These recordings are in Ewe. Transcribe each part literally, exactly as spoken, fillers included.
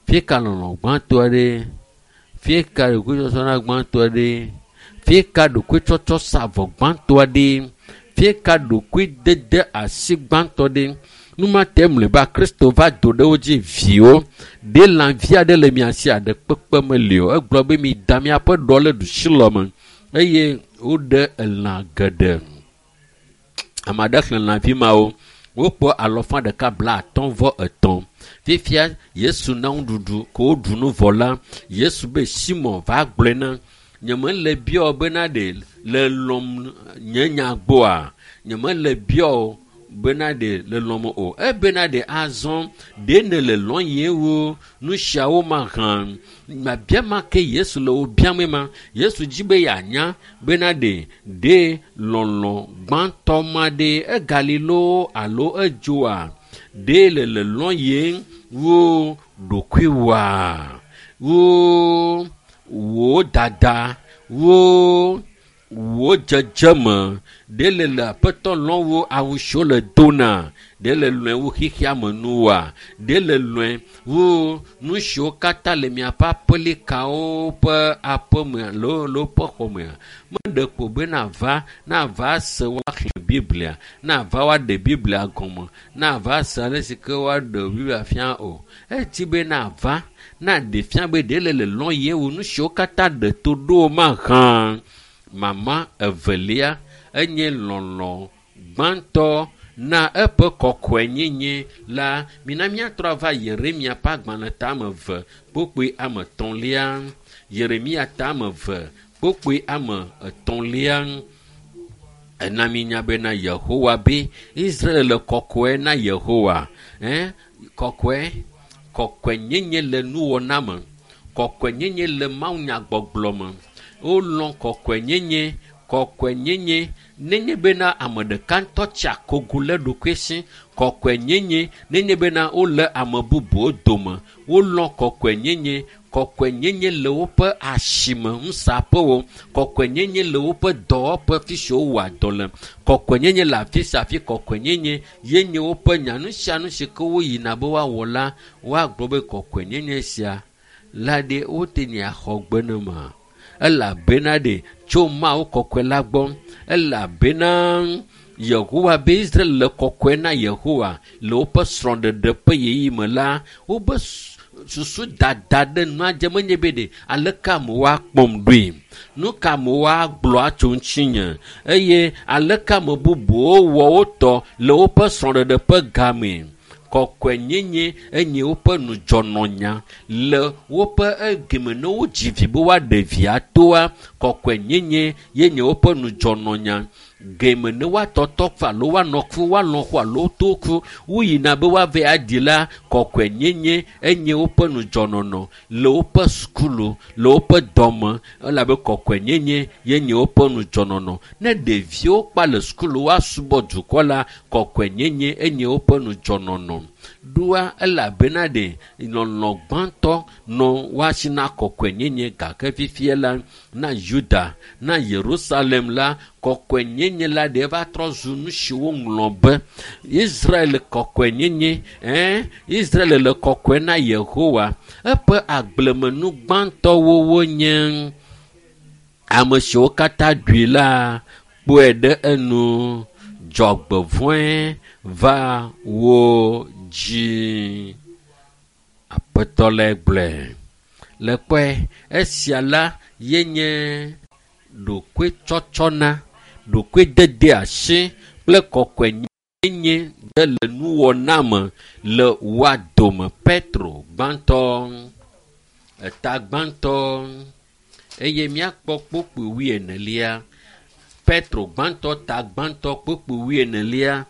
Fie ka lɔlɔ gbãtɔa ɖe? Fie ka ɖokuitsɔtsɔna gbãtɔa ɖe? Fie ka ɖokuitsɔtsɔ sa avɔ gbãtɔa ɖe? Fie ka ɖokuidede asi gbãtɔ ɖe? Numa te mlɔeba Kristo va do ɖe wo dzi viwo. Ɖe lãvi aɖe le mia si aɖe kpekpe meli o. Egblɔ be mi da miaƒe ɖɔ le ɖusilɔ me eye woɖe elã geɖe. Ame aɖe xlẽ lãvi mawo. Wokpɔ alɔfa ɖeka bla atɔ̃ vɔ etɔ̃. Fifia Yesu na nuɖuɖu ko woɖu nu vɔ la, Yesu be Simon va gblɔe na nyemele biɔ bena ɖe le lɔm nye nya gbɔa? Nyemele biɔ bena ɖe le lɔm o. Ebena ɖe azɔ ɖe ne le lɔm ye wo nu siawo ma hã. Mabia ma ke Yesu le wo biam ma. Yesu dzi be yeanya bena ɖe ɖe lɔlɔ gbãtɔ ma ɖe egali loo alo edzoa? Ɖe le le lɔm ye wo ɖokuiwoa? Wo wo dada, wo wo dzedzeme, ɖe le le aƒetɔ lɔm wo awu siwo le dona, ɖe le lɔe wo xexea me nuwoa, ɖe le lɔe wo nu siwo katã le miaƒe aƒelikawo ƒe aƒeme alo le woƒe xɔmea. Meɖe ko be nava, nava se woaxlẽ Biblia, nava woaɖe Biblia gɔme, nava se ale si ke woaɖe Biblia fia o. Edi be nava, naɖe fia be ɖe le le lɔm ye wo nu siwo katã ɖe to ɖo mahã. Mama evelia enye lɔlɔ gbãtɔ na eƒe kɔkɔenyenye la. Mina míatrɔ ava Yeremia ƒe agbalẽ tame eve kpokpoe ame etɔ̃lia. Yeremia tame eve kpokpoe ame etɔ̃lia. Ena mínya bena Yehowa be Israel le kɔkɔe na Yehowa. Ɛ kɔkɔe, kɔkɔenyenye le nuwɔna me, kɔkɔenyenye le mawunyagbɔgblɔ me. Wolɔ̃ kɔkɔenyenye, kɔkɔenyenye nenye bena ame ɖeka ŋutɔ tsi akogo le ɖokui si. Kɔkɔenyenye nenye bena wole ame bubuwo dome. Wolɔ̃ kɔkɔenyenye, kɔkɔenyenye le woƒe asime nusaƒewo, kɔkɔenyenye le woƒe dɔwɔƒe fi si wowɔa dɔ le, kɔkɔenyenye le afi sia afi. Kɔkɔenyenye ye nye woƒe nya. Nu sia nu si ke woyina be woawɔ la, woagblɔ be kɔkɔenyenye sia la ɖe wote ŋu axɔ gbe ne ma. Elabena ɖe tso Mawu kɔkɔe la gbɔ. Elabena Yehowa be Israel le kɔkɔe na Yehowa le woƒe srɔ̃ɖeɖe ƒe ɣeyiɣi me la, woƒe susu dada ɖe nua dze menye be ɖe aleke amewo akpɔm ɖoe, nu ka amewo agblɔ atso ŋutinye, eye aleke ame bubuwo wɔ wo tɔ le woƒe srɔ̃ɖeɖe ƒe game. Kɔkɔenyenye enye woƒe nudzɔnɔnya le woƒe egeme ne wodzi vi be woaɖe via toa. Kɔkɔenyenye ye nye woƒe nudzɔnɔnya. Geme ne woatɔtɔ ku alo woanɔ ku, woalɔ̃ ku alo to ku, woyina be woava aɖi la, kɔkɔenyenye enye woƒe nudzɔnɔnɔ le woƒe sukulu, le woƒe dɔme, elabe kɔkɔenyenye ye nye woƒe nudzɔnɔnɔ. Ne ɖeviwo kpa le sukulu woasubɔ dukɔ la, kɔkɔenyenye enye woƒe nudzɔnɔnɔ. Ɖoa elabena ɖe lɔlɔ gbãtɔ nɔ woasi na kɔkɔenyenye gake fifia la, na Yuda, na Yerusalem la, kɔkɔenyenye la ɖe va trɔ zu nu si woŋlɔ be Israel kɔkɔenyenye, ɛn, Israel le kɔkɔe na Yehowa. Eƒe agblemenu gbãtɔwo wonye ame siwo katã ɖui la kpɔe ɖe enu. Dzɔgbevɔ̃e va wo dzi. Aƒetɔ le gblɔe. Le kpɔe, esia la ye nye ɖokuitsɔtsɔna, ɖokuidede asi kple kɔkɔenyenye ɖe le nuwɔna me le woa dome. Petro gbãtɔ, eta gbãtɔ, eye míakpɔ kpokpoe wuienelia. Petro gbãtɔ, ta gbãtɔ, kpokpoe wuienelia.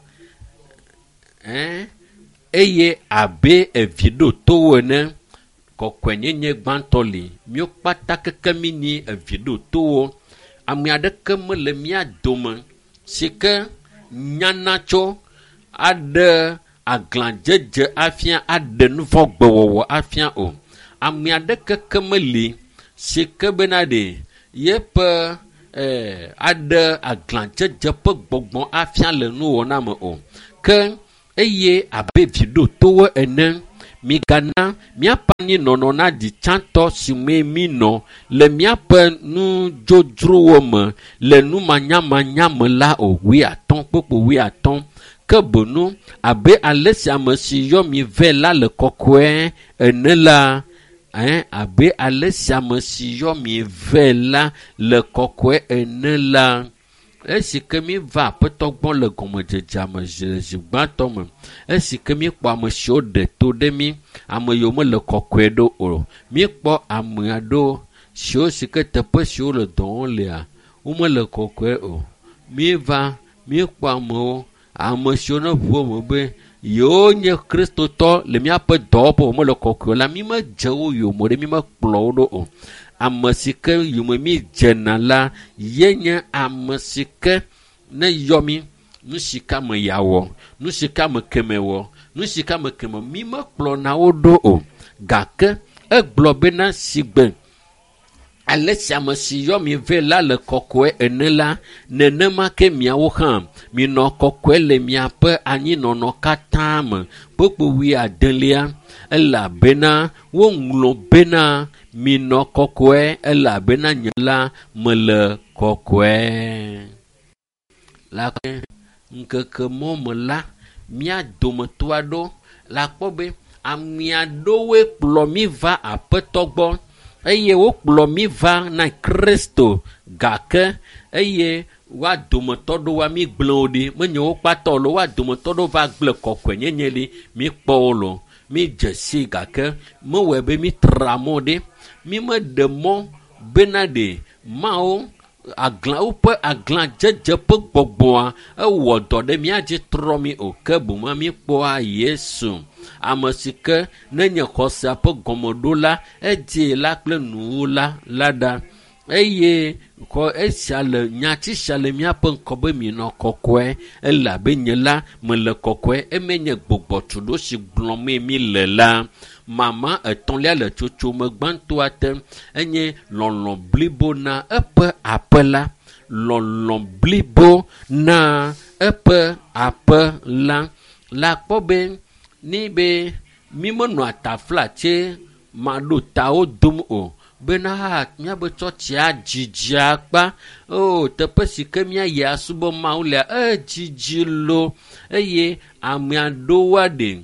Ɛn, eye abe evi ɖo towo ene, kɔkɔenyenye gbãtɔ li. Míwo kpata keke mi nyi evi ɖo towo. Ame aɖeke mele mía dome si ke nyana tso aɖe aglãdzedze afia, aɖe nuvɔ̃gbewɔwɔ afia o. Ame aɖeke ke meli si ke bena ɖe yeƒe eh, aɖe aglãdzedze ƒe gbɔgbɔ afia le nuwɔna me o. Ke eye abe vi ɖo towo ene, Migana míaƒe anyinɔnɔ naɖi tsãtɔ si mee mínɔ le míaƒe nudzodzrowo me le numanyamanya me la o. Wuiatɔ̃ kpokpo wuiatɔ̃. Ke boŋu abe ale si ame si yɔ mi vɛ la le kɔkɔe ene la, ɛn abe ale si ame si yɔ mi vɛ la le kɔkɔe ene la, esi ke mi va aƒetɔ gbɔ le gɔmedzedzea me zi zi gbãtɔ me, esi ke mi kpɔ ame siwo ɖe to ɖe mi, ame yiwo mele kɔkɔe ɖo o. Míekpɔ ame aɖewo siwo si ke teƒe siwo le dɔ wɔm lea, womele kɔkɔe o. Míeva, míekpɔ amewo, ame siwo ne ʋu eme be yewo nye kristotɔ le míaƒe dɔwɔƒe womele kɔkɔe o la, mímedze wo yome ɖe, mímekplɔ wo ɖo o. Ame si ke yome mídzena la, ye nye ame si ke ne yɔ mí, nu si ke ame yeawɔ, nu si ke ame keme wɔ, nu si ke ame keme mímekplɔna wo ɖo o. Gake egblɔ bena sigbe ale si ame si yɔ mi vɛ la le kɔkɔe ene la, nenema ke miawo hã minɔ kɔkɔe le miaƒe anyinɔnɔ katã me. Kpokpo wuiadelia, elabena woŋlɔ bena minɔ kɔkɔe elabena nye la mele kɔkɔe. La ke ŋkeke mɔ me la, mía dometɔ aɖewo la kpɔ be ame aɖewoe kplɔ mí va aƒetɔ gbɔ eye wokplɔ mí va na Kristo gake eye woa dometɔ ɖewoa mí gblẽ wo ɖi. Menye wo kpata o, woa dometɔ ɖewo va gblẽ kɔkɔenyenye ɖi. Mí kpɔ wo lo, mí dze si gake mewɔe be mí tra mɔ ɖi. Mí meɖe mɔ bena ɖe Mawu aglã woƒe aglãdzedze ƒe gbɔgbɔa ewɔ dɔ ɖe mía dzi trɔ mí o. Ke boŋ mí kpɔa Yesu, ame si ke nenye xɔsea ƒe gɔmeɖola, edie la kple nuwula la ɖa. Eye xɔ esia le nyati sia le míaƒe ŋkɔ be minɔ kɔkɔe elabe nye la mele kɔkɔe. Eme nye gbɔgbɔtuɖo si gblɔmee mi le la. Mama etɔ̃lia le tsotsome gbãtɔa te enye lɔlɔ̃ blibo na eƒe aƒe la. Lɔlɔ̃ blibo na eƒe aƒe la. La kpɔ be ni be mi menɔa taflatse maɖo tawo dom o. Bena míabe tsɔtsia dzidzi akpa. O teƒe si ke míayi asubɔ Mawu lea, edzidzi lo eye ame aɖewoa ɖe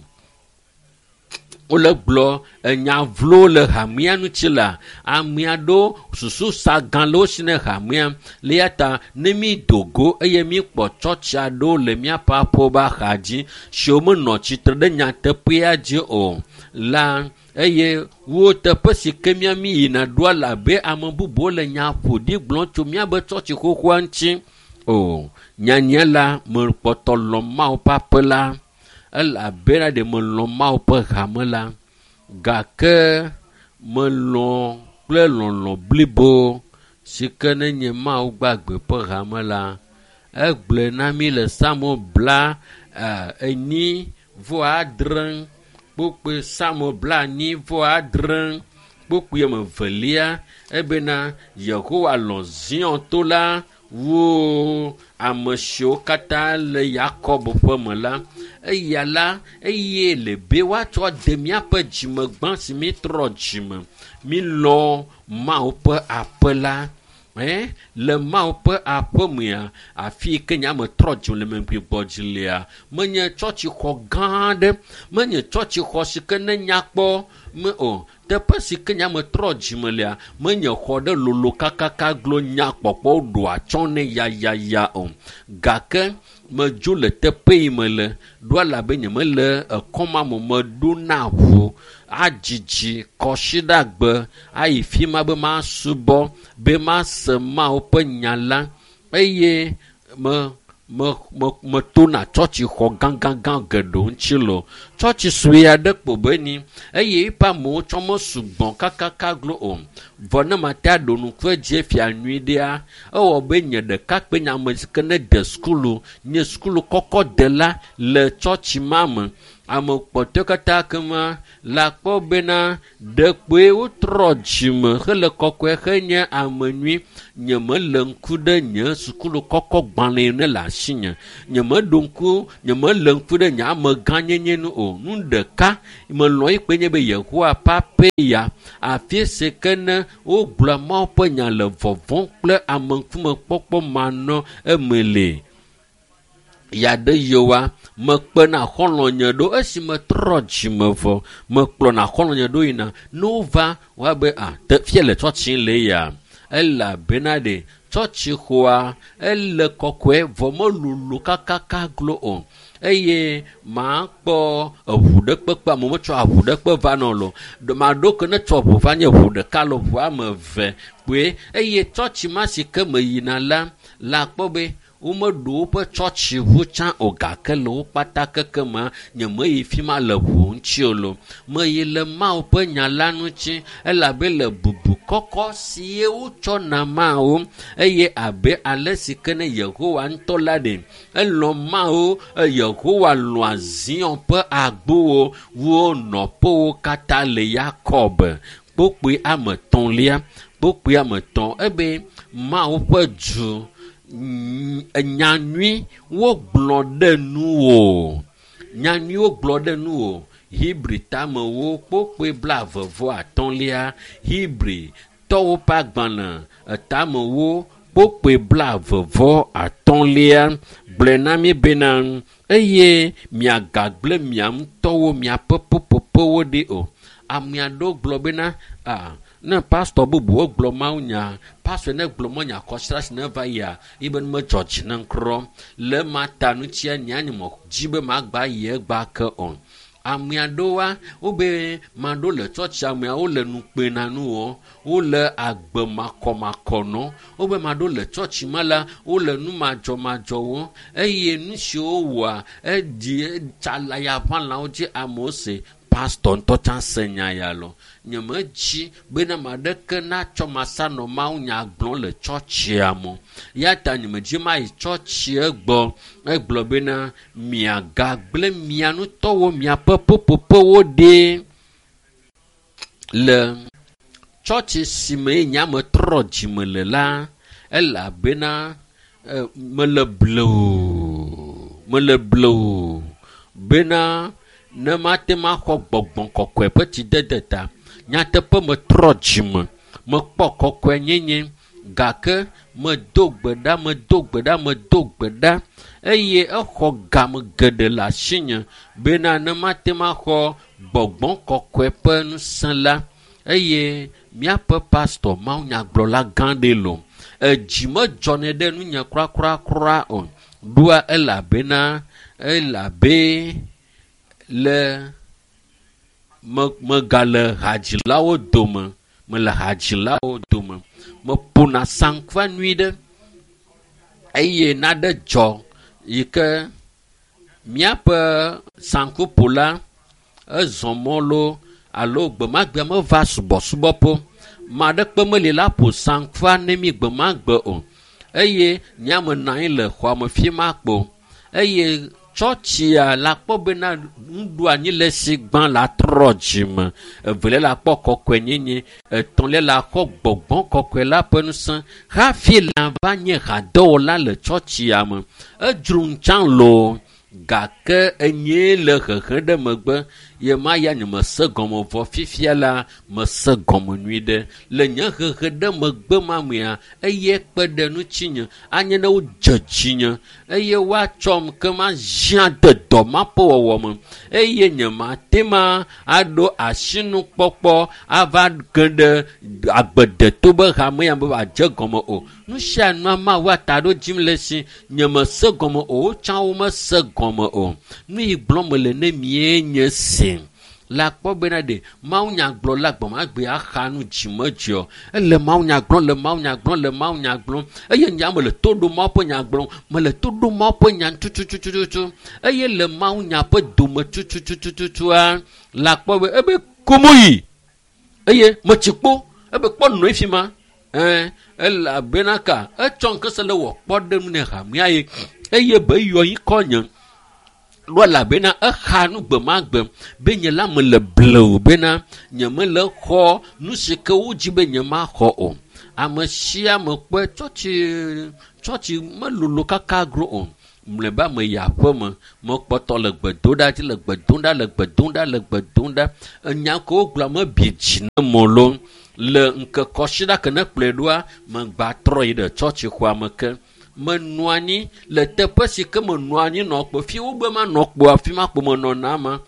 wole gblɔ enya vlo le hamea ŋuti la, ame aɖewo susu sa gã le wo si ne hamea. Le ya ta ne mí do go eye míkpɔ tsɔtsi aɖewo le míaƒe aƒewo ƒe axa dzi siwo menɔ tsitre ɖe nyateƒea dzi o la, eye wo teƒe si ke mía mí yina ɖoa le abe ame bubuwo le nya ƒo ɖi gblɔm tso míabe tsɔtsi xoxoa ŋuti o. Nyanya la mekpɔtɔ lɔ̃ Mawu ƒe aƒe la elabena ɖe melɔ̃ Mawu ƒe hame la gake melɔ̃ kple lɔlɔ̃ blibo si ke nenye Mawu gbagbe ƒe hame la. Egblɔe na mí le Psalmo bla enyi vɔ adre kpokpoe Psalmo bla enyi vɔ adre kpokpoe ame evelia ebena Yehowa lɔ̃ Zion to la wu ame siwo katã le Yakob ƒe me la. Eya la eye le be woatsɔ de míaƒe dzime gbã si mítrɔ dzime. Mílɔ̃ Mawu ƒe aƒe la. Ɛ le Mawu ƒe aƒe mea, afi yi ke nye ame trɔ dzime le megbe dzi lea, menye tsɔtsixɔ gã aɖe, menye tsɔtsixɔ si ke ne nya kpɔ me o. Teƒe si ke nye ame trɔ dzime lea, menye xɔ ɖe lolo kakaka glo nya kpɔkpɔ ɖo atsyɔ̃ nɛ yayaya o. Gake medzo le teƒe yi me le ɖo elabe nyemele ekɔma me meɖona ʋu adzidzi kɔsiɖagbe ayi fi ma be masubɔ be mase Mawu ƒe nya la eye me me me metona tsɔtsixɔ gãgãgã geɖewo ŋuti lo. Tsɔtsi sue aɖe kpo be ni eye eƒe amewo tsɔ mesugbɔ kakaka glo o. Vɔ ne mate aɖo ŋku edzi fia nyui ɖea, ewɔ be nye ɖekakpui nye ame si ke ne de sukulu, nye sukulu kɔkɔ dela le tsɔtsi ma me. Ame kpɔtɔe katã kema le akpɔ bena ɖekpoe wotrɔ dzime hele kɔkɔe henye ame nyui. Nyemele ŋku ɖe nye sukulu kɔkɔ gbalẽ ne le asinye. Nyemeɖo ŋku, nyemele ŋku ɖe nye amegãnyenye nu o. Nu ɖeka melɔ̃ yi kpe nye be Yehowa ƒe ya afi si ke ne wogblɔa Mawu ƒe nya le vɔvɔ̃ kple ameŋkumekpɔkpɔ manɔ eme le. Yaɖe yewoa, mekpena xɔlɔ̃nye ɖo esi metrɔ dzime vɔ, mekplɔna xɔlɔ̃nye ɖo yina. Ne wova, woabe a te fia le tsɔtsi le ya. Elabena ɖe tsɔtsi xɔa ele kɔkɔe vɔ melolo kakaka glo o. Eye makpɔ eʋu ɖe kpekpe amewo metsɔ aʋu ɖe kpe va nɔ lo. Maɖo ke ne tsɔ ʋu va nye ʋu ɖeka le ʋu ame eve kpoe. Eye tsɔtsi ma si ke meyina la, la akpɔ be womeɖo woƒe tsɔtsi ʋu tsã o gake le wo kpata keke ma nyemeyi fi ma le ʋu ŋuti o lo. Meyi le Mawu ƒe nya la ŋuti elabe le bubu kɔkɔ si ye wotsɔ na Mawu eye abe ale si ke ne Yehowa ŋutɔ la ɖe elɔ̃ Mawu, Yehowa lɔ̃a Zion ƒe agbowo wo nɔƒewo katã le Yakob. Kpokpoe ame etɔ̃lia, kpokpoe ame etɔ̃ ebe Mawu ƒe du nyanyui wogblɔ ɖe nuwò. Nyanyui wogblɔ ɖe nuwò. Hebri tamewo kpokpoe blaeve vɔ atɔ̃lia. Hebri tɔwo ƒe agbalẽ etamewo kpokpoe blaeve vɔ atɔ̃lia gblɔe na mi bena eye miagagblẽ mia ŋutɔwo miaƒe ƒuƒoƒewo ɖi o. Ame aɖewo gblɔ bena a ne pastor bubuwo gblɔ mawunya, pastor ne gblɔ mawunya kɔsiɖa si ne va yia, yi be medzɔ dzi ne ŋkrɔ. Le ma ta ŋutia nya nye me dzi be magba yi egba ke o. Ame aɖewoa, wobe maɖo le tsɔtsi ameawo le nu kpe na nu wɔ, wole agbe makɔmakɔ nɔ. Wobe maɖo le tsɔtsi ma la, wole nu madzɔmadzɔ wɔ eye nu siwo wɔa eɖi tsala ya ʋãlawo dzi amewo se. Pastor ŋutɔ tsã se nya ya lɔ. Nyemedzi bena ame aɖeke natsɔ masa nɔ mawunya gblɔm le tsɔtsia me. Ya ta nyemedzi mayi tsɔtsia gbɔ. Egblɔ bena miagagblẽ mia ŋutɔwo miaƒe ƒuƒoƒewo ɖi le tsɔtsi si me nye ame trɔ dzime le la, elabena mele blewu, mele blewu bena ne mate maxɔ gbɔgbɔ kɔkɔe ƒe tsidede ta. Nyateƒe metrɔ dzime, mekpɔ kɔkɔenyenye gake medo gbe ɖa, medo gbe ɖa, medo gbe ɖa eye exɔ game geɖe le asinye bena ne mate maxɔ gbɔgbɔ kɔkɔe ƒe ŋusẽ la. Eye míaƒe pastor mawunyagblɔla gã ɖe lo. Edzi medzɔnɛ ɖe nunye kurakurakura o. Ɖoa elabena elabe le me megale hadzilawo dome, mele hadzilawo dome. Meƒona saŋkua nyui ɖe eye naɖe dzɔ yi ke míaƒe saŋkuƒola ezɔ mɔ loo alo gbemagbea meva subɔsubɔƒe. Ame aɖeke meli la ƒo saŋkua ne mi gbemagbe o. Eye nye ame nɔ anyi le xɔa me fi ma kpo. Eye tsɔtsia la kpɔ bena nuɖoanyi le si gbã la trɔ dzime. Evelia la kpɔ kɔkɔenyenye. Etɔ̃lia la xɔ gbɔgbɔ kɔkɔe la ƒe ŋusẽ hafi la va nye hadɔwɔla le tsɔtsia me. Edzro ŋutsã loo gake enyee le hehe ɖe megbe. Ye ma ya nye mese gɔme vɔ fifia la mese gɔme nyui ɖe. Le nye hehe ɖe megbe ma mea, eye kpe ɖe ŋutinye anye ne wodze dzinye eye woatsɔm ke ma zia de dɔ ma ƒe wɔwɔ me eye nye mate ma aɖo asinukpɔkpɔ ava ge ɖe agbedeto be hame ya be wòadze gɔme o. Nu sia nua Mawu ata ɖo dzim le si nye mese gɔme o, wotsã womese gɔme o. Nu yi gblɔm mele ne mie nye se. La kpɔ bena ɖe mawunyagblɔla gbemagbe axa nu dzimedzɔ. Ele mawunya gblɔm, le mawunya gblɔm, le mawunya gblɔm. Eye nya mele to ɖom Mawu ƒe nya gblɔm, mele to ɖom Mawu ƒe nya tututututu. Eye le mawunya ƒe dome tututututua, la kpɔ be ebe komoyi. Eye metsi kpo, ebe kpɔ nɔe fi ma. Ɛɛ, elabena ka etsɔ ŋkese le wɔ kpɔ ɖe nu ne hamea ye. Eye be yɔ yi kɔ nye. Ɖo elabena exa nu gbe ma gbe be nye la mele blewu bena nye mele xɔ nu si ke wodzi be nye maxɔ o. Ame sia ame kpɔe tsɔtsi tsɔtsi melolo kaka gro o. Mlɔeba meyi aƒeme, mekpɔtɔ le gbe dom ɖa dzi le gbe dom ɖa le gbe dom ɖa le gbe dom ɖa. Enya kewo gblɔa mebi dzi ne mo lo. Le ŋkekɔsiɖa ke ne kplɔe ɖoa, megba trɔ yi ɖe tsɔtsixɔa me ke. Menɔ anyi le teƒe si ke menɔ anyi nɔ kpo fi wogbe manɔ kpo afi ma kpo menɔna ma.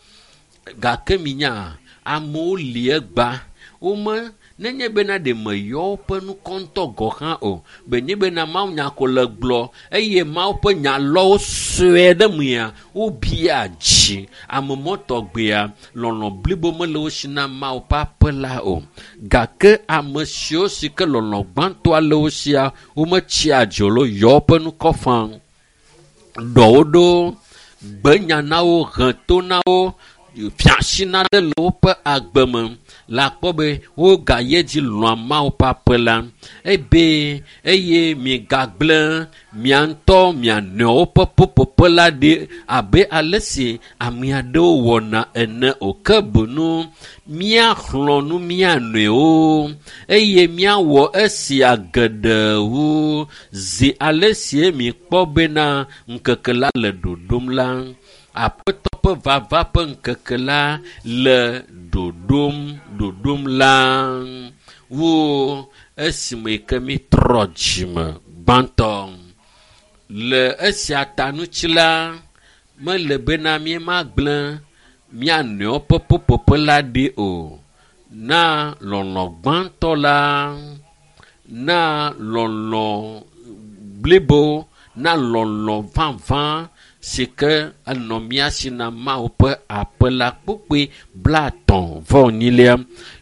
Gake minya amewo li egba wome nenye bena ɖe meyɔ woƒe ŋkɔ ŋutɔ gɔ hã o. Be nye bena Mawu nya ko le gblɔ eye Mawu ƒe nya lɔwo sue ɖe mea wobia dzi. Ame mɔtɔgbea lɔlɔ blibo mele wo si na Mawu ƒe aƒe la o. Gake ame siwo si ke lɔlɔ gbãtɔa le wo sia wometsia dzi o lo yɔ woƒe ŋkɔ fã. Ɖɔwo ɖo gbe nya na wo he to na wo fiasi na ɖe le woƒe agbe me. Le akpɔ be wogayi edzi lɔ̃a Mawu ƒe aƒe la. Ebe eye migagblẽ mia ŋutɔ mia nɔewo ƒe ƒuƒoƒe la ɖi abe ale si ame aɖewo wɔna ene o. Ke boŋ míaxlɔ̃ nu mía nɔewo eye míawɔ esia geɖe wu zi ale si mikpɔ bena ŋkeke la le ɖoɖom la. Aƒetɔ ƒe vava ƒe ŋkeke la le ɖoɖom ɖoɖom la wu esime ke mitrɔ dzime gbãtɔ. Le esia ta ŋuti la, mele bena míemagblẽ mía nɔewo ƒe ƒuƒoƒe la ɖi o. Na lɔlɔ gbãtɔ la, na lɔlɔ blibo, na lɔlɔ vavã si ke enɔ mía si na Mawu ƒe aƒe la kpokpoe blaetɔ̃ vɔ enyilia.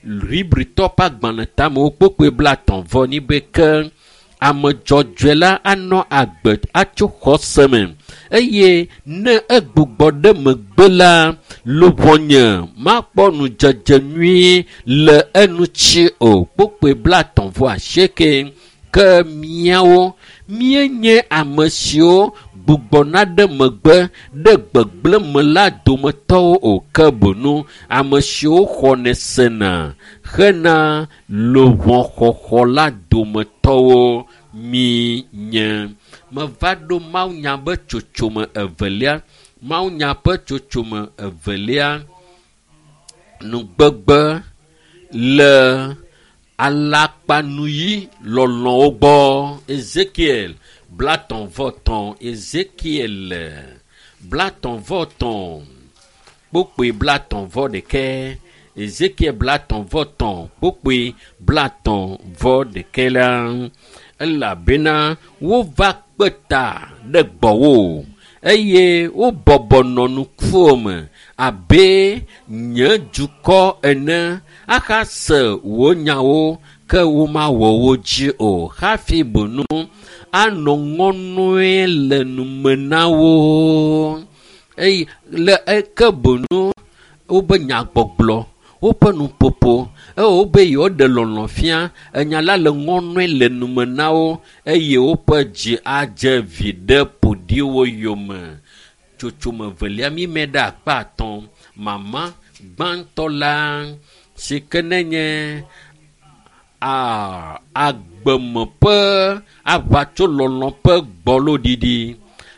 Hebritɔ ƒe agbalẽ tamewo kpokpoe blaetɔ̃ vɔ enyi be ke ame dzɔdzɔe la anɔ agbe atso xɔse me eye ne egbugbɔ ɖe megbe la, luʋɔnye makpɔ nudzedze nyui le eŋuti o. Kpokpoe blaetɔ̃ vɔ asieke. Ke míawo míenye ame siwo gbugbɔna ɖe megbe ɖe gbegblẽ me la dometɔwo o. Ke boŋ ame siwo xɔnɛ sena hena luʋɔxɔxɔ la dometɔwo míenye. Meva ɖo mawunya ƒe tsotsome evelia. Mawunya ƒe tsotsome evelia nugbegbe le alakpanuyi lɔlɔ̃wo gbɔ. Ezekiel blaetɔ̃ vɔ etɔ̃. Ezekiel blaetɔ̃ vɔ etɔ̃ kpokpoe blaetɔ̃ vɔ ɖekɛ. Ezekiel blaetɔ̃ vɔ etɔ̃ kpokpoe blaetɔ̃ vɔ ɖekɛ la, elabena wova kpe ta ɖe gbɔwò eye wobɔbɔ nɔ nukuwò me abe nye dukɔ ene ahase wò nyawo ke womawɔ wo dzi o. Hafi boŋ anɔ ŋɔnɔe le nume na wo. Eye le eke boŋ wobe nyagbɔgblɔ, woƒe nuƒoƒo, eye wobe yewoɖe lɔlɔ fia, enya la le ŋɔnɔe le nume na wo eye woƒe dzi adze viɖe ƒoɖiwo yome. Tsotsome velia mímɛ ɖe akpa atɔ̃. Mama gbãtɔ la si ke nenye a agbeme ƒe aʋatsolɔlɔ ƒe gbɔloɖiɖi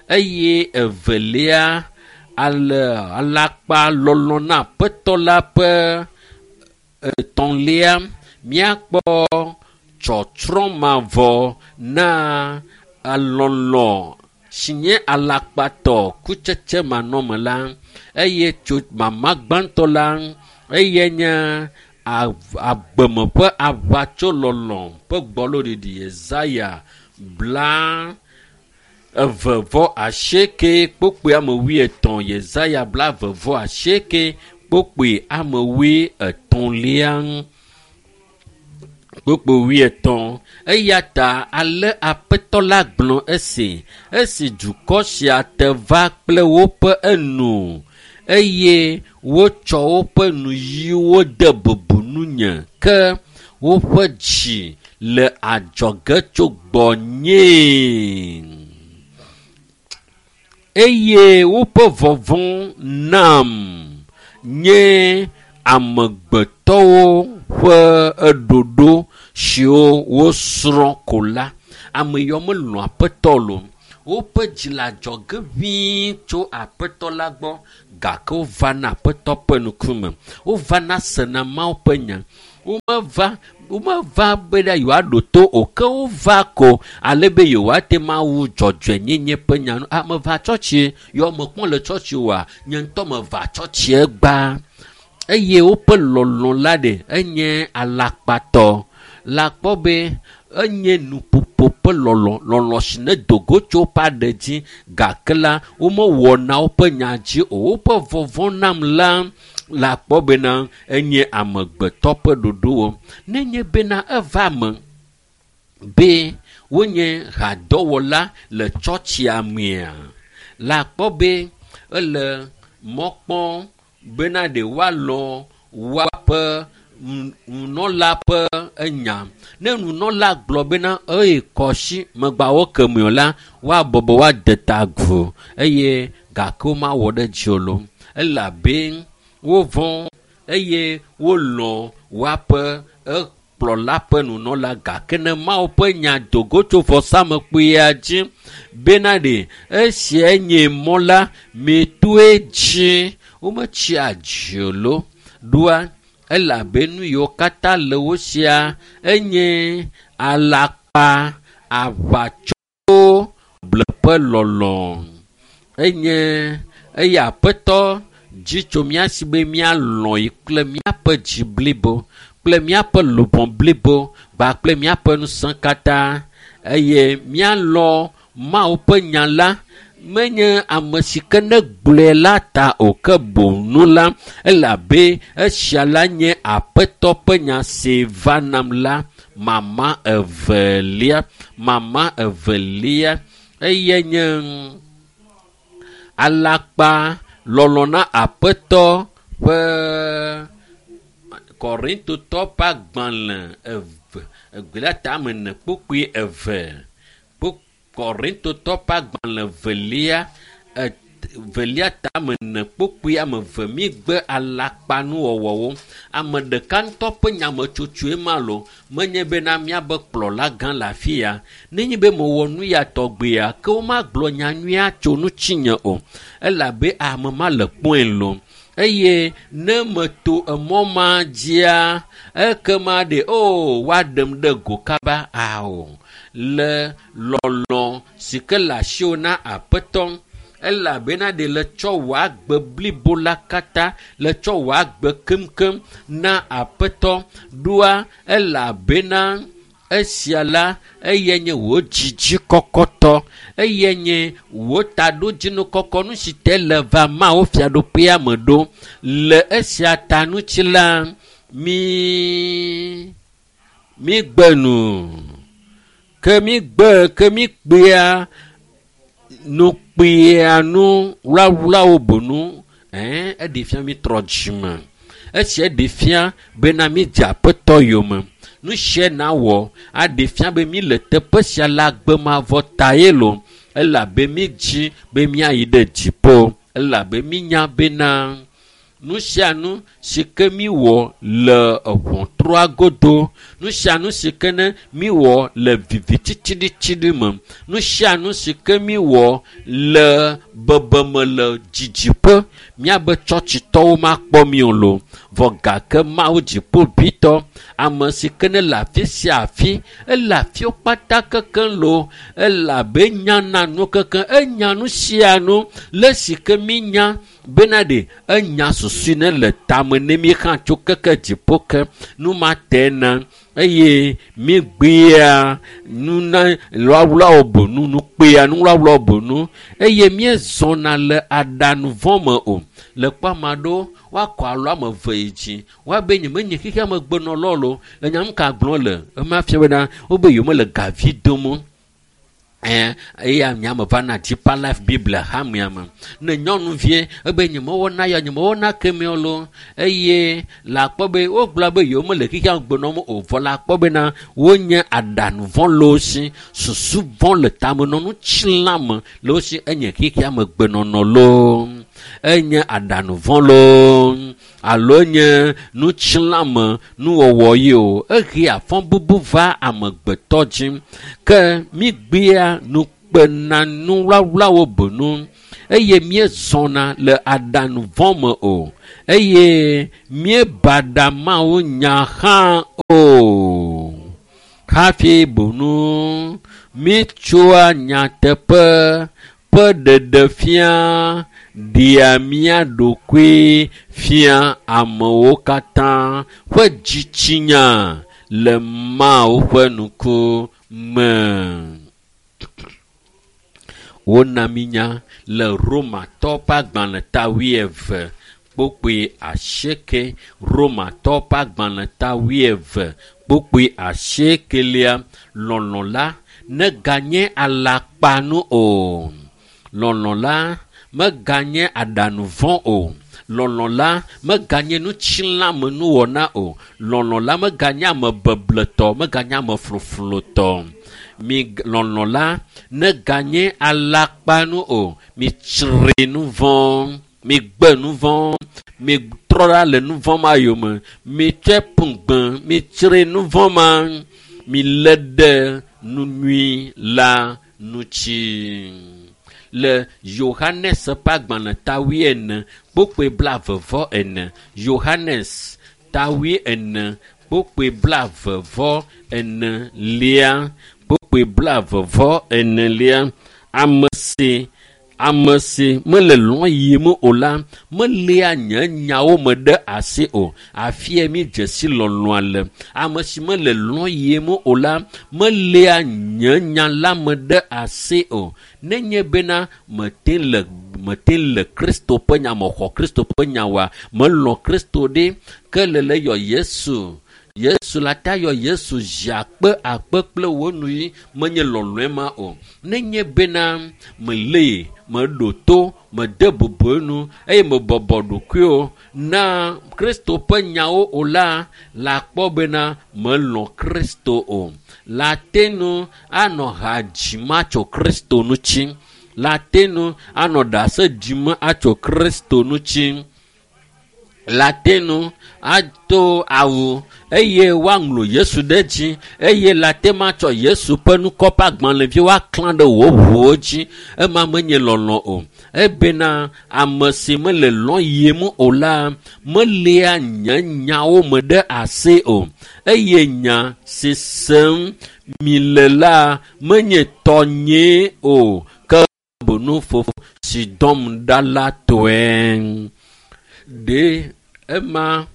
eye evelia ale alakpa lɔlɔ na aƒetɔ la ƒe etɔ̃lia míakpɔ tsɔtsrɔ̃ mavɔ na alɔlɔ si nye alakpatɔ kutsetse manɔme la eye tso mama gbãtɔ la eye nye agbeme ƒe aʋatsolɔlɔ ƒe gbɔloɖiɖi. Yesaya bla eve vɔ asieke kpokpoe ame wuietɔ̃. Yesaya bla eve vɔ asieke kpokpoe ame wuietɔ̃lia kpokpoe wuietɔ̃. Eya ta ale Aƒetɔ la gblɔ esi esi dukɔ sia te va kple woƒe enu eye wotsɔ woƒe nuyiwo de bubu nunye ke woƒe dzi le adzɔge tso gbɔnyee. Eye woƒe vɔvɔ̃ nam nye amegbetɔwo ƒe eɖoɖo siwo wosrɔ̃ ko la. Ame yiwo melɔ̃ aƒetɔ lo. Woƒe dzi le adzɔge ʋĩi tso aƒetɔ la gbɔ gake wovana aƒetɔ ƒe ŋkume. Wovana sena Mawu ƒe nya. Womeva womeva be ɖe yewoaɖo to o ke wova ko ale be yewoate ŋu awu dzɔdzɔenyenye ƒe nya nu. Ah, meva tsɔtsi yɔ mekpɔ le tsɔtsi oa, nye ŋutɔ meva tsɔtsie gbã. Eye woƒe lɔlɔ̃ la ɖe enye alakpatɔ. Le akpɔ be enye nuƒoƒo ƒe lɔlɔ̃, lɔlɔ̃ si ne do go tso woƒe aɖe dzi gake la womewɔna woƒe nya dzi o. Woƒe vɔvɔ̃ nam la le akpɔ bena enye amegbetɔ ƒe ɖoɖowo. Nenye bena eva me be wonye hadɔwɔla le tsɔtsia mea, le akpɔ be ele mɔ kpɔm bena ɖe woalɔ̃ woaƒe nunɔla ƒe enya. Ne nunɔla gblɔ bena eye kɔsi megbawo kemi o la, woabɔbɔ woade ta agu eye gake womawɔ ɖe dzi o lo. Elabe wovɔ̃ eye wolɔ̃ woaƒe ekplɔla ƒe nunɔla gake ne Mawu ƒe nya do go tso vɔsamlekpuia dzi bena ɖe esia nye mɔ la, mitoe dzi. Wometsia dzi o lo. Ɖoa elabe nu yiwo katã le wo sia enye alakpa, aʋatso, bleƒe lɔlɔ̃. Enye eye aƒetɔ dzi tso mía si be míalɔ̃ yi kple míaƒe dzi blibo kple míaƒe luʋɔ blibo kpakple míaƒe ŋusẽ katã eye míalɔ̃ Mawu ƒe nya la. Menye ame si ke ne gblɔe la ta o ke boŋ nu la elabe esia la nye aƒetɔ ƒe nya si va nam la. Mama evelia, mama evelia eye nye alakpa lɔlɔ̃ na aƒetɔ ƒe Korintotɔ ƒe agbalẽ eve egbelia tame ene kpukpui eve. Korintotɔ ƒe agbalẽ velia velia tame ene kpukpui ame eve mígbe alakpanuwɔwɔwo. Ame ɖeka ŋutɔ ƒe nyametsotsoe ma lo menye bena míabe kplɔla gã le afi ya. Nenye be mewɔ nu ya tɔgbea ke womagblɔ nya nyuia tso ŋutinye o elabe ame ma le kpɔe lo. Eye ne meto emɔ ma dzia ekema ɖe o woaɖem ɖe go kaba ao. Le lɔlɔ̃ si ke le asiwò na aƒetɔ elabena ɖe le tsɔ wò agbe blibo la katã le tsɔ wò agbe keŋkeŋ na aƒetɔ ɖoa elabena esia la eye nye wò dzidzi kɔkɔtɔ eye nye wò taɖodzinu kɔkɔ nu si te le va Mawu fiaɖuƒea me ɖo. Le esia ta ŋuti la mi migbe nu ke migbe ke mikpea nukpea nu wlawlawo bonu ɛɛ eɖe fia mi trɔ dzime. Esia ɖe fia bena mídze aƒetɔ yome. Nu sia nawɔ aɖe fia be mi le teƒe sia le agbemavɔ ta ye lo elabe mídzi be míayi ɖe dziƒo elabe mínya bena nu sia nu si ke míwɔ le ʋɔtrua godo, nu sia nu si ke ne míwɔ le vivititsiɖitsiɖi me, nu sia nu si ke míwɔ le bebeme le dzidziƒe, míabe tsɔtsitɔwo makpɔ mí o lo. Vɔ gake Mawu dziƒoʋĩtɔ, ame si ke ne le afi sia afi, ele afiwo kpata kekeŋ lo, elabe nyana nu kekeŋ, enya nu sia nu le si ke mínya bena ɖe enya susui ne le tame ne mí hã tso keke dziƒo ke nu ma te na eye mígbea nu na wlawlawo bonu nukpea nu wlawlawo bonu eye míezɔna le aɖanu vɔ̃ me o. Le kpɔ ame aɖewo woakɔ alɔ ame eve yi dzi woabe nye menye xexea me gbenɔlɔ lo le nya nu ka gblɔm le ema fia bena wobe yewomele gavi dom o. Eya miame va na Deeper Life Bible hamea me. Ne nyɔnuvie ebe nyemewɔna ya nyemewɔna kemeo lo eye la kpɔ be wogblɔ be yewo mele xexea me gbenɔm o vɔ la kpɔ bena wonye aɖaŋu vɔ̃ le wo si, susu vɔ̃ le tamenɔnu tsilãme le wo si enye xexea me gbenɔnɔ loo. Enye aɖaŋu vɔ̃ loo alo nye nutsilãme nuwɔwɔ yi o. Ehea fɔbubu va amegbetɔ dzi. Ke mígbea nukpena nuwlawlawo benu eye míezɔna le aɖaŋu vɔ̃ me o eye míebaɖa Mawu nya hã o. Hafi benu míetsoa nyateƒe ƒe ɖeɖefia ɖea mía ɖokui fia amewo katã ƒe dzitsinya le Mawu ƒe ŋku me. Wona mí nya le Romatɔ ƒe agbalẽ ta wuieve kpukpui asieke. Romatɔ ƒe agbalẽ ta wuieve kpukpui asiekelia. Lɔlɔ̃ la neganye alakpanu o. Lɔlɔ̃ la meganye aɖaŋu vɔ̃ o. Lɔlɔ̃ la meganye nutsilãmenuwɔna o. Lɔlɔ̃ la meganye amebebletɔ, meganye amefloflotɔ. Mi lɔlɔ̃ la neganye alakpanu o. Mitsri nu vɔ̃, migbe nu vɔ̃, mitrɔ ɖa le nu vɔ̃ ma yome, mitsɔe ƒu gbe, mitsri nu vɔ̃ ma, milé ɖe nu nyui la ŋuti. Le Yohanes ƒe agbalẽ ta wuiene kpukpui blaeve vɔ ene. Yohanes ta wuiene kpukpui blaeve vɔ enelia. Kpukpui blaeve vɔ enelia. Ame si ame si mele lɔ̃ yim o la meléa nye nyawo me ɖe asi o. Afia mi dze si lɔlɔ̃a le. Ame si mele lɔ̃ yim o la meléa nye nya la me ɖe asi o. Nenye bena mete le mete le Kristo ƒe nya me xɔ Kristo ƒe nya wa melɔ̃ Kristo ɖe ke le le yɔ Yesu. Yesu la ta yɔ Yesu zi akpe akpe kple wo nu yi menye lɔlɔ̃e ma o. Nenye bena melee, meɖo to, mede bubu enu eye mebɔbɔ ɖokuiwo na Kristo ƒe nyawo o la, la kpɔ bena melɔ̃ Kristo o. La te nu anɔ ha dzim atso Kristo ŋuti. La te nu anɔ ɖase ɖim atso Kristo ŋuti. La te nu ato awu eye woaŋlɔ Yesu ɖe dzi eye la te matsɔ Yesu ƒe ŋkɔ ƒe agbalẽvi woaklã ɖe wò ʋuwo dzi. Ema menye lɔlɔ̃ o. Ebena ame si mele lɔ̃ yim o la meléa nye nyawo me ɖe asi o eye nya si sem mile la menye tɔnyee o ke boŋ Fofo si dɔm ɖa la tɔe. Ɖe ema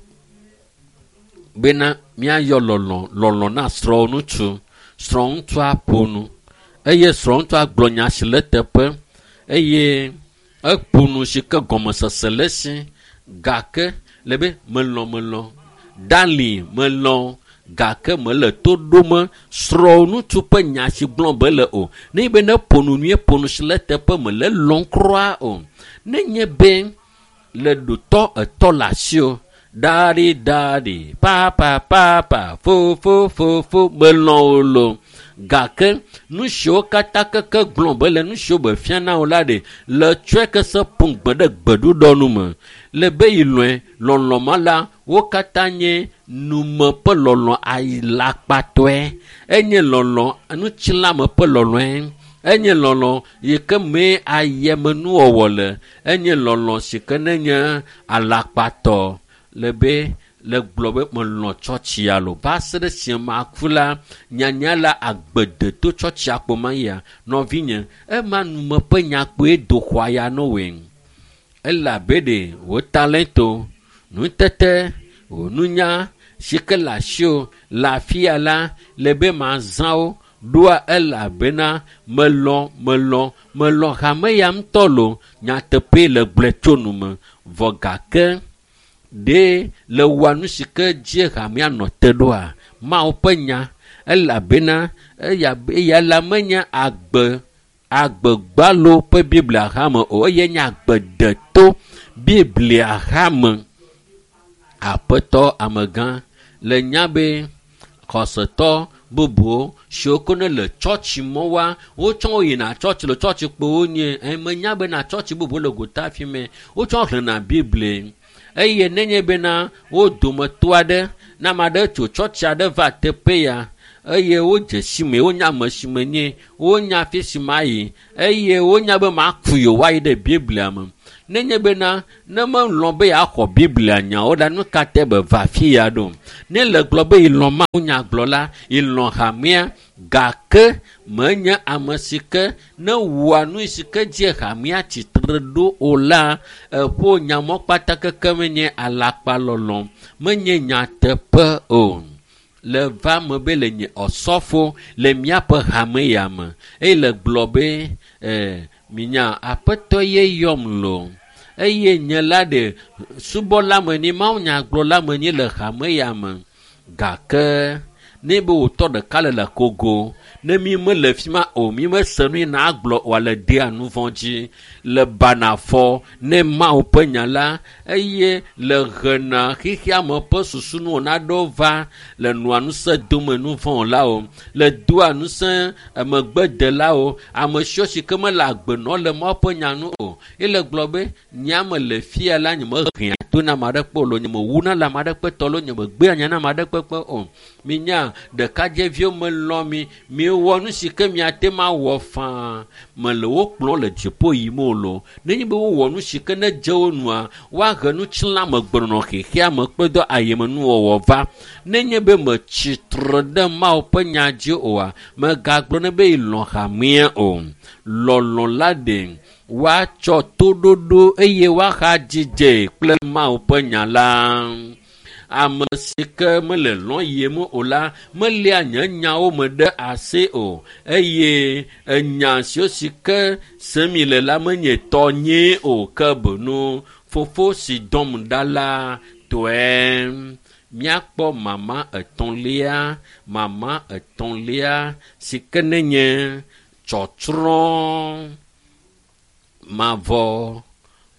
bena míayɔ lɔlɔ̃ lɔlɔ̃ na srɔ̃ŋutsu. Srɔ̃ŋutsua ƒo nu eye srɔ̃ŋutsua gblɔ nya si le teƒe eye eƒo nu si ke gɔmesese le esi gake le be melɔ̃ melɔ̃ dali melɔ̃ gake mele to ɖom srɔ̃ŋutsu ƒe nya si gblɔm be le o. Ne be ne ƒo nu nyuie ƒo nu si le teƒe mele lɔ̃m kura o. Nenye be le ɖotɔ etɔ le asi o ɖaɖi ɖaɖi papa papa fofo fofo melɔ̃ o lo gake nu siwo katã keke gblɔm be le nu siwo be fia na wo la ɖe le tsɔe ke se ƒu gbe ɖe gbeɖuɖɔ nu me le be yi lɔe lɔlɔ̃ ma la wo katã nye nume ƒe lɔlɔ̃ alakpatɔe enye lɔlɔ̃ nutsilãme ƒe lɔlɔ̃e enye lɔlɔ̃ yi ke mee ayemenuwɔwɔ le enye lɔlɔ̃ si ke nenye alakpatɔ le be le gblɔ be melɔ̃ tsɔtsia lo va se ɖe si maku la nyanya la agbedeto tsɔtsia kpo ma ya nɔvinye ema nume ƒe nya kpoe do xɔa ya no woe elabe ɖe wò talento nutete wò nunya si ke le asiwò le afia la le be mazã wo ɖoa elabena melɔ̃ melɔ̃ melɔ̃ hame ya ŋutɔ lo nyateƒee le gblɔe tso nume vɔ gake ɖe le wɔa nu si ke dzi hamea nɔ te ɖoa Mawu ƒe nya Elabena eya eya la menye agbe agbegbalo ƒe Biblia hame o, eye nye agbedeto Biblia hame. Aƒetɔ amegã le nya be xɔsetɔ bubuwo siwo ke ne le tsɔtsi mɔwoa, wotsɔ wo yina tsɔtsi le tsɔtsi kpowo nye. Menya bena tsɔtsi bubuwo le gota fi mɛ wotsɔ xlẽna Biblia. Eye nenye bena wo dometɔ aɖe ne ame aɖe tso tsɔtsi aɖe va teƒe ya eye wodze si me, wonya ame si menye, wonya afi si mayi eye wonya be maku yewoayi ɖe Biblia me. Nenye bena ne melɔ̃ be yeaxɔ Biblia nyawo la, nu ka te be va afi ya ɖo? Ne le gblɔ be yelɔ̃ Mawu nyagblɔla, yelɔ̃ hamea, gake menye ame si ke ne wɔa nu si ke dzi hamea tsitre ɖo o la, eƒo nyamɔ kpata keke menye alakpalɔlɔ̃, menye nyateƒe o. Le va me be le nye ɔsɔfo le míaƒe hame ya me eye le gblɔ be eh, minya aƒetɔ ye yɔm lo eye nye la ɖe subɔla menye, Mawu nyagblɔla menye le hame ya me. Gake ne be wòtɔ ɖeka le le kogo, ne mi mele fi ma o, mi mese nu yi na agblɔ o, le dea nu vɔ̃ dzi, le banafɔ ne Mawu ƒe nya la, eye le hena xexea me ƒe susu nu naɖewo va le nɔa ŋusẽ dome nu vɔ̃ la o, le doa ŋusẽ megbedelawo, ame siwo si ke mele agbe nɔ le Mawu ƒe nya nu o. Ye le gblɔ be nye me le fia la, nye mehea to na ame aɖe kpe o, nye mewuna le ame aɖe kpe tɔ lo, nye megbea nya na ame aɖe kpekpe o. Minya ɖekadzɛviwo melɔ̃ mi, miwɔ nu si ke miate ŋu awɔ faa. Mele wo kplɔm le dziƒo yim o lo. Nenye be wowɔ nu si ke ne dze wo nua, woahe nutsilãmegbenɔnɔ xexea me kple dɔ ayemenuwɔwɔ va. Nenye be metsi tre ɖe Mawu ƒe nya dzi oa, megagblɔ ne be yelɔ̃ hamea o. Lɔlɔ̃ la ɖe woatsɔ toɖoɖo eye woahadzidze kple Mawu ƒe nya la. Ame si ke mele lɔ̃ yiem o la, meléa nye nyawo me ɖe asi o eye enya siwo si ke sem mi le la menye tɔnyee o, ke boŋ fofo si dɔm ɖa la tɔe. Míakpɔ mama etɔ̃lia, mama etɔ̃lia si ke nenye tsɔtsrɔ̃ mavɔ,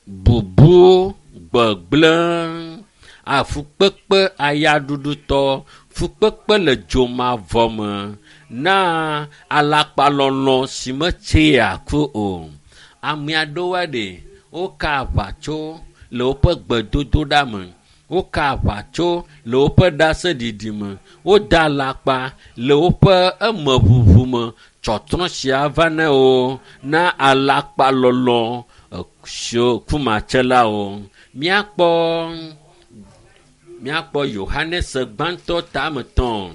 bubu, gbegblẽ, afukpekpe ayaɖuɖutɔ, fukpekpe le dzomavɔ me na alakpalɔlɔ̃ si metsea ku o. Ame aɖewoa ɖe woka aʋatso le woƒe gbedodoɖa me, woka aʋatso le woƒe ɖaseɖiɖi me, woda alakpa le woƒe emeʋuʋu me. Tsɔtsrɔ̃ sia va ne wo na alakpalɔlɔ̃ siwo kumatselawo. Míakpɔ míakpɔ Yohanes gbãtɔ tame tɔ̃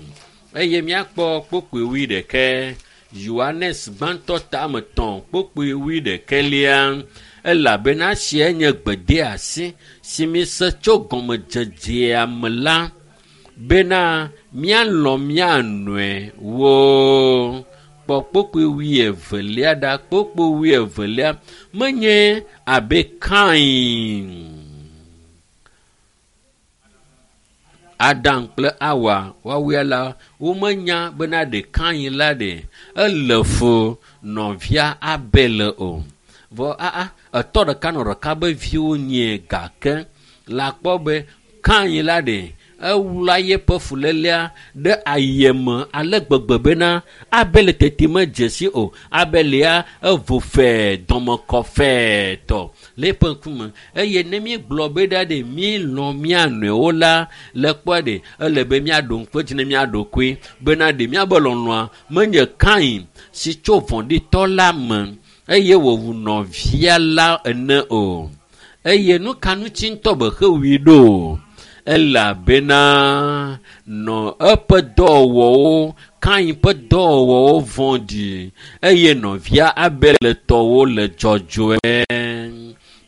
eye míakpɔ kpokpoe wuiɖekɛ. Yohanes gbãtɔ tame tɔ̃ kpokpoe wuiɖekɛlia, elabena esia nye gbedeasi si mise tso gɔmedzedzea me la, bena míalɔ̃ mía nɔewo. Kpɔ kpokpoe wuievelia ɖa, kpokpoe wuievelia menye abe Kain, Adam kple Awa woawoe la, womenya bena ɖe Kain la ɖe ele fu nɔvia Abel o. Vɔ aa etɔ ɖeka nɔ ɖeka be viwo nye gake la kpɔ be Kain la ɖe ewla yeƒe fulélea ɖe ayeme ale gbegbe bena Abel tete medze si o. Abel ya evo fɛɛ dɔmekɔ fɛɛ tɔ le eƒe ŋkume. Eye ne míegblɔ be ɖa ɖe míelɔ̃ mía nɔewo la, le kpɔa ɖe ele be míaɖo ŋku edzi ne mía ɖokui bena ɖe míabe lɔlɔ̃a menye Kain si tso vɔ̃ɖitɔ la me eye wòwu nɔvia la ene o. Eye nu ka ŋuti ŋutɔ be xewui ɖo? Elabena nɔ eƒe dɔwɔwɔwo, Kain ƒe dɔwɔwɔwo vɔ̃ɖi eye nɔvia Abel tɔwo le dzɔdzɔe.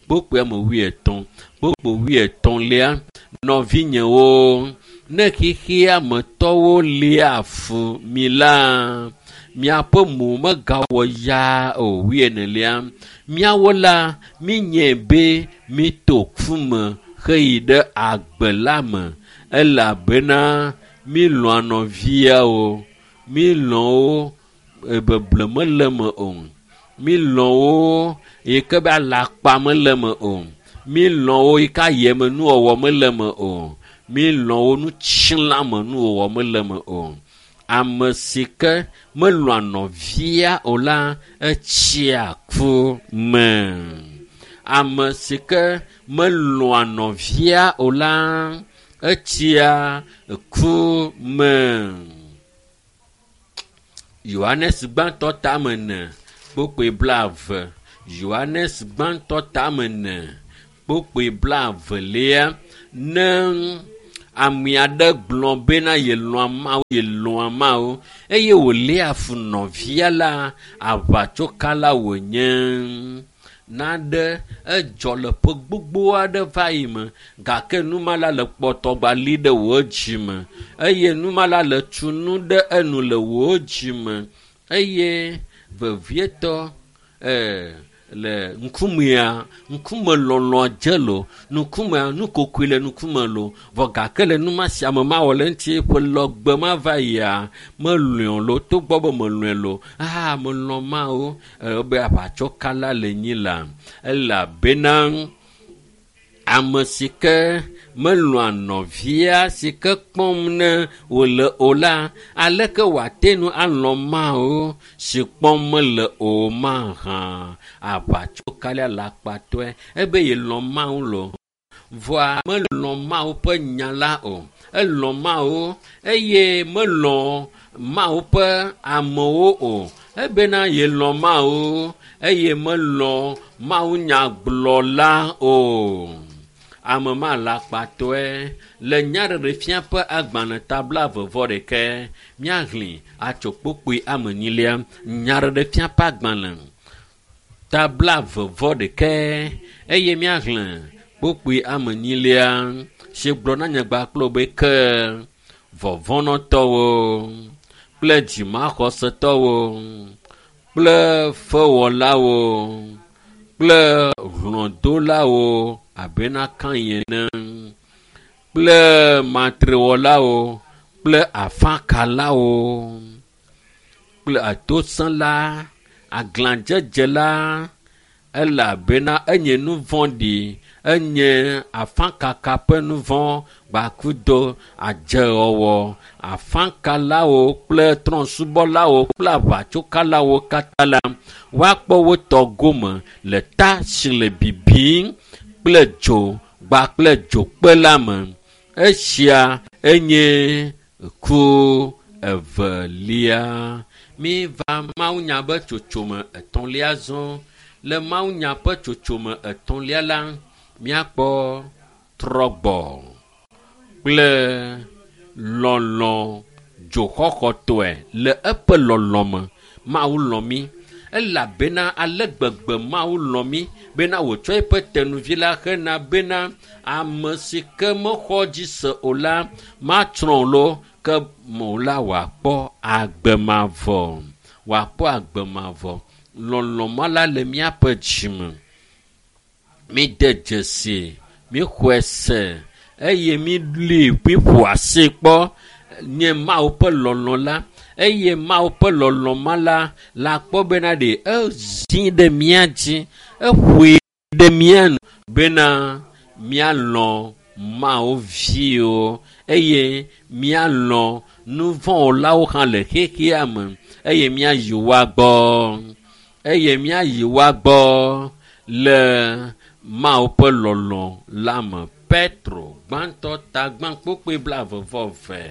Kpokpoe ame wuietɔ̃, kpokpoe wuietɔ̃lia, nɔvinyewo, ne xexea me tɔwo lia fu mi la, miaƒe mo megawɔ yaa o. Wuienelia, míawo la, míenyae be míto ku me heyi ɖe agbe la me elabena mílɔ̃a nɔviawo. Mi lɔ̃ wo beble mele me o. Mi lɔ̃ wo yi ke be alakpa mele me o. Mi lɔ̃ wo yi ke ayeme nuwɔwɔ mele me o. Mi lɔ̃ wo nutsilãme nuwɔwɔ mele me o. Ame si ke melɔ̃a nɔvia o la, etsia ku me. Ame si ke melɔ̃a nɔvia o la, etsia ku me. Yohanes gbãtɔ tame ene kpokpoe blaeve. Yohanes gbãtɔ tame ene kpokpoe blaevelia. Ne ame aɖe gblɔ bena yelɔ̃a Mawu, yelɔ̃a Mawu eye wòléa fu nɔvia la, aʋatsokala wònye. Naɖe edzɔ le ƒe gbogbo aɖe va yi me gake numala le kpɔtɔgba li ɖe wò dzime eye numala le tu nu ɖe enu le wò dzime eye vevietɔ ee le ŋkumea ŋkume lɔlɔ dze lo ŋkumea nukokoe le ŋkume lo vɔ gake le numa sia me mawɔ le ŋuti ƒe lɔgbe ma va yia melɔe lo togbɔ be melɔe lo ah melɔ Mawu be aʋatsokala le nyi la elabena ame si ke melɔa nɔvia si ke kpɔm ne wòle o la aleke wòate nu alɔ Mawu si kpɔm mele o mahã aʋatsokala alakpatɔe ebe yelɔ Mawu lo vɔa melɔ Mawu ƒe nya la o elɔ Mawu eye melɔ Mawu ƒe amewo o ebena yelɔ Mawu eye melɔ Mawu nyagblɔla o. Ame ma alakpatɔe le nyaɖeɖefia ƒe agbalẽ ta blaeve vɔ ɖeke míahlẽ atso kpokpoe ame enyilia. Nyaɖeɖefia ƒe agbalẽ ta blaeve vɔ ɖeke eye míahlẽ kpokpoe ame enyilia si gblɔ na nyagba kple be ke vɔvɔ̃nɔtɔwo kple dzimaxɔsetɔwo kple fewɔlawo kple hlɔ̃dolawo abena Kain ene kple matrewɔlawo kple afakalawo kple atosẽla aglãdzedzela elabena enye nu vɔ̃ɖi enye afakaka ƒe nu vɔ̃ gbakudo adzewɔwɔ afakalawo kple trɔ̃subɔlawo kple aʋatsokalawo katã la woakpɔ wo tɔ gome le ta si le bibim kple dzo gba kple dzokpe la me. Esia enye ku evelia. Mi va mawunya ƒe tsotsome etɔ̃lia zɔ. Le mawunya ƒe tsotsome etɔ̃lia la, míakpɔ trɔgbɔ kple lɔlɔ dzoxɔxɔtɔe le eƒe lɔlɔ me. Mawu lɔ̃ mí elabena ale gbegbe Mawu lɔ̃ mí bena wòtsɔ eƒe tenuvi la hena bena ame si ke mexɔ dzi se o la matsrɔ̃ lo ke mo la wòakpɔ agbe mavɔ. Wòakpɔ agbe mavɔ. Lɔlɔ ma la le míaƒe dzime. Mi de dzesi, míxɔe se eye míli míƒo asi kpɔ nye Mawu ƒe lɔlɔ la eye Mawu ƒe lɔlɔ ma la la kpɔ bena ɖe ezi ɖe mía dzi eƒoe ɖe mía nu bena míalɔ Mawu viwo eye míalɔ nuvɔ̃wɔlawo hã le xexea me eye míayi woa gbɔ eye míayi woa gbɔ le Mawu ƒe lɔlɔ la me. Petro gbãtɔ ta gbã kpokpoe blaeve vɔ eve.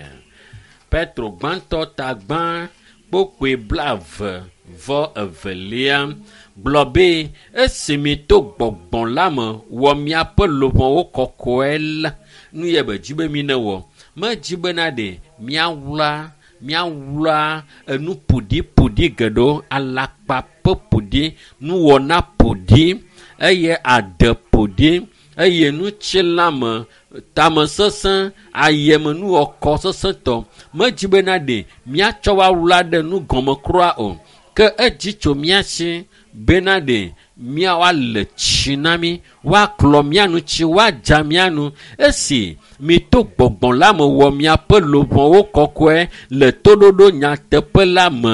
Petro gbãtɔ ta gbã kpokpoe blaeve vɔ evelia gblɔ be esi mi to gbɔgbɔ la me wɔ miaƒe luʋɔwo kɔkɔe la nu yɛ be dzi be mi ne wɔ medzi bena ɖe míawla míawla enu ƒoɖiƒoɖi geɖewo alakpa ƒe ƒoɖi nuwɔna ƒoɖi eye ade ƒoɖi eye nutsilãme tamesesẽ ayemenuwɔkɔ sesẽtɔ medzi bena ɖe míatsɔ woawla ɖe nu gɔme kura o Ke edzi tso mía si bena ɖe míawoale tsi na mí, woaklɔ mía nu tsi, woadza mía nu. Esi mito gbɔgbɔ la me wɔ miaƒe luʋɔwo kɔkɔe le toɖoɖo nyateƒe la me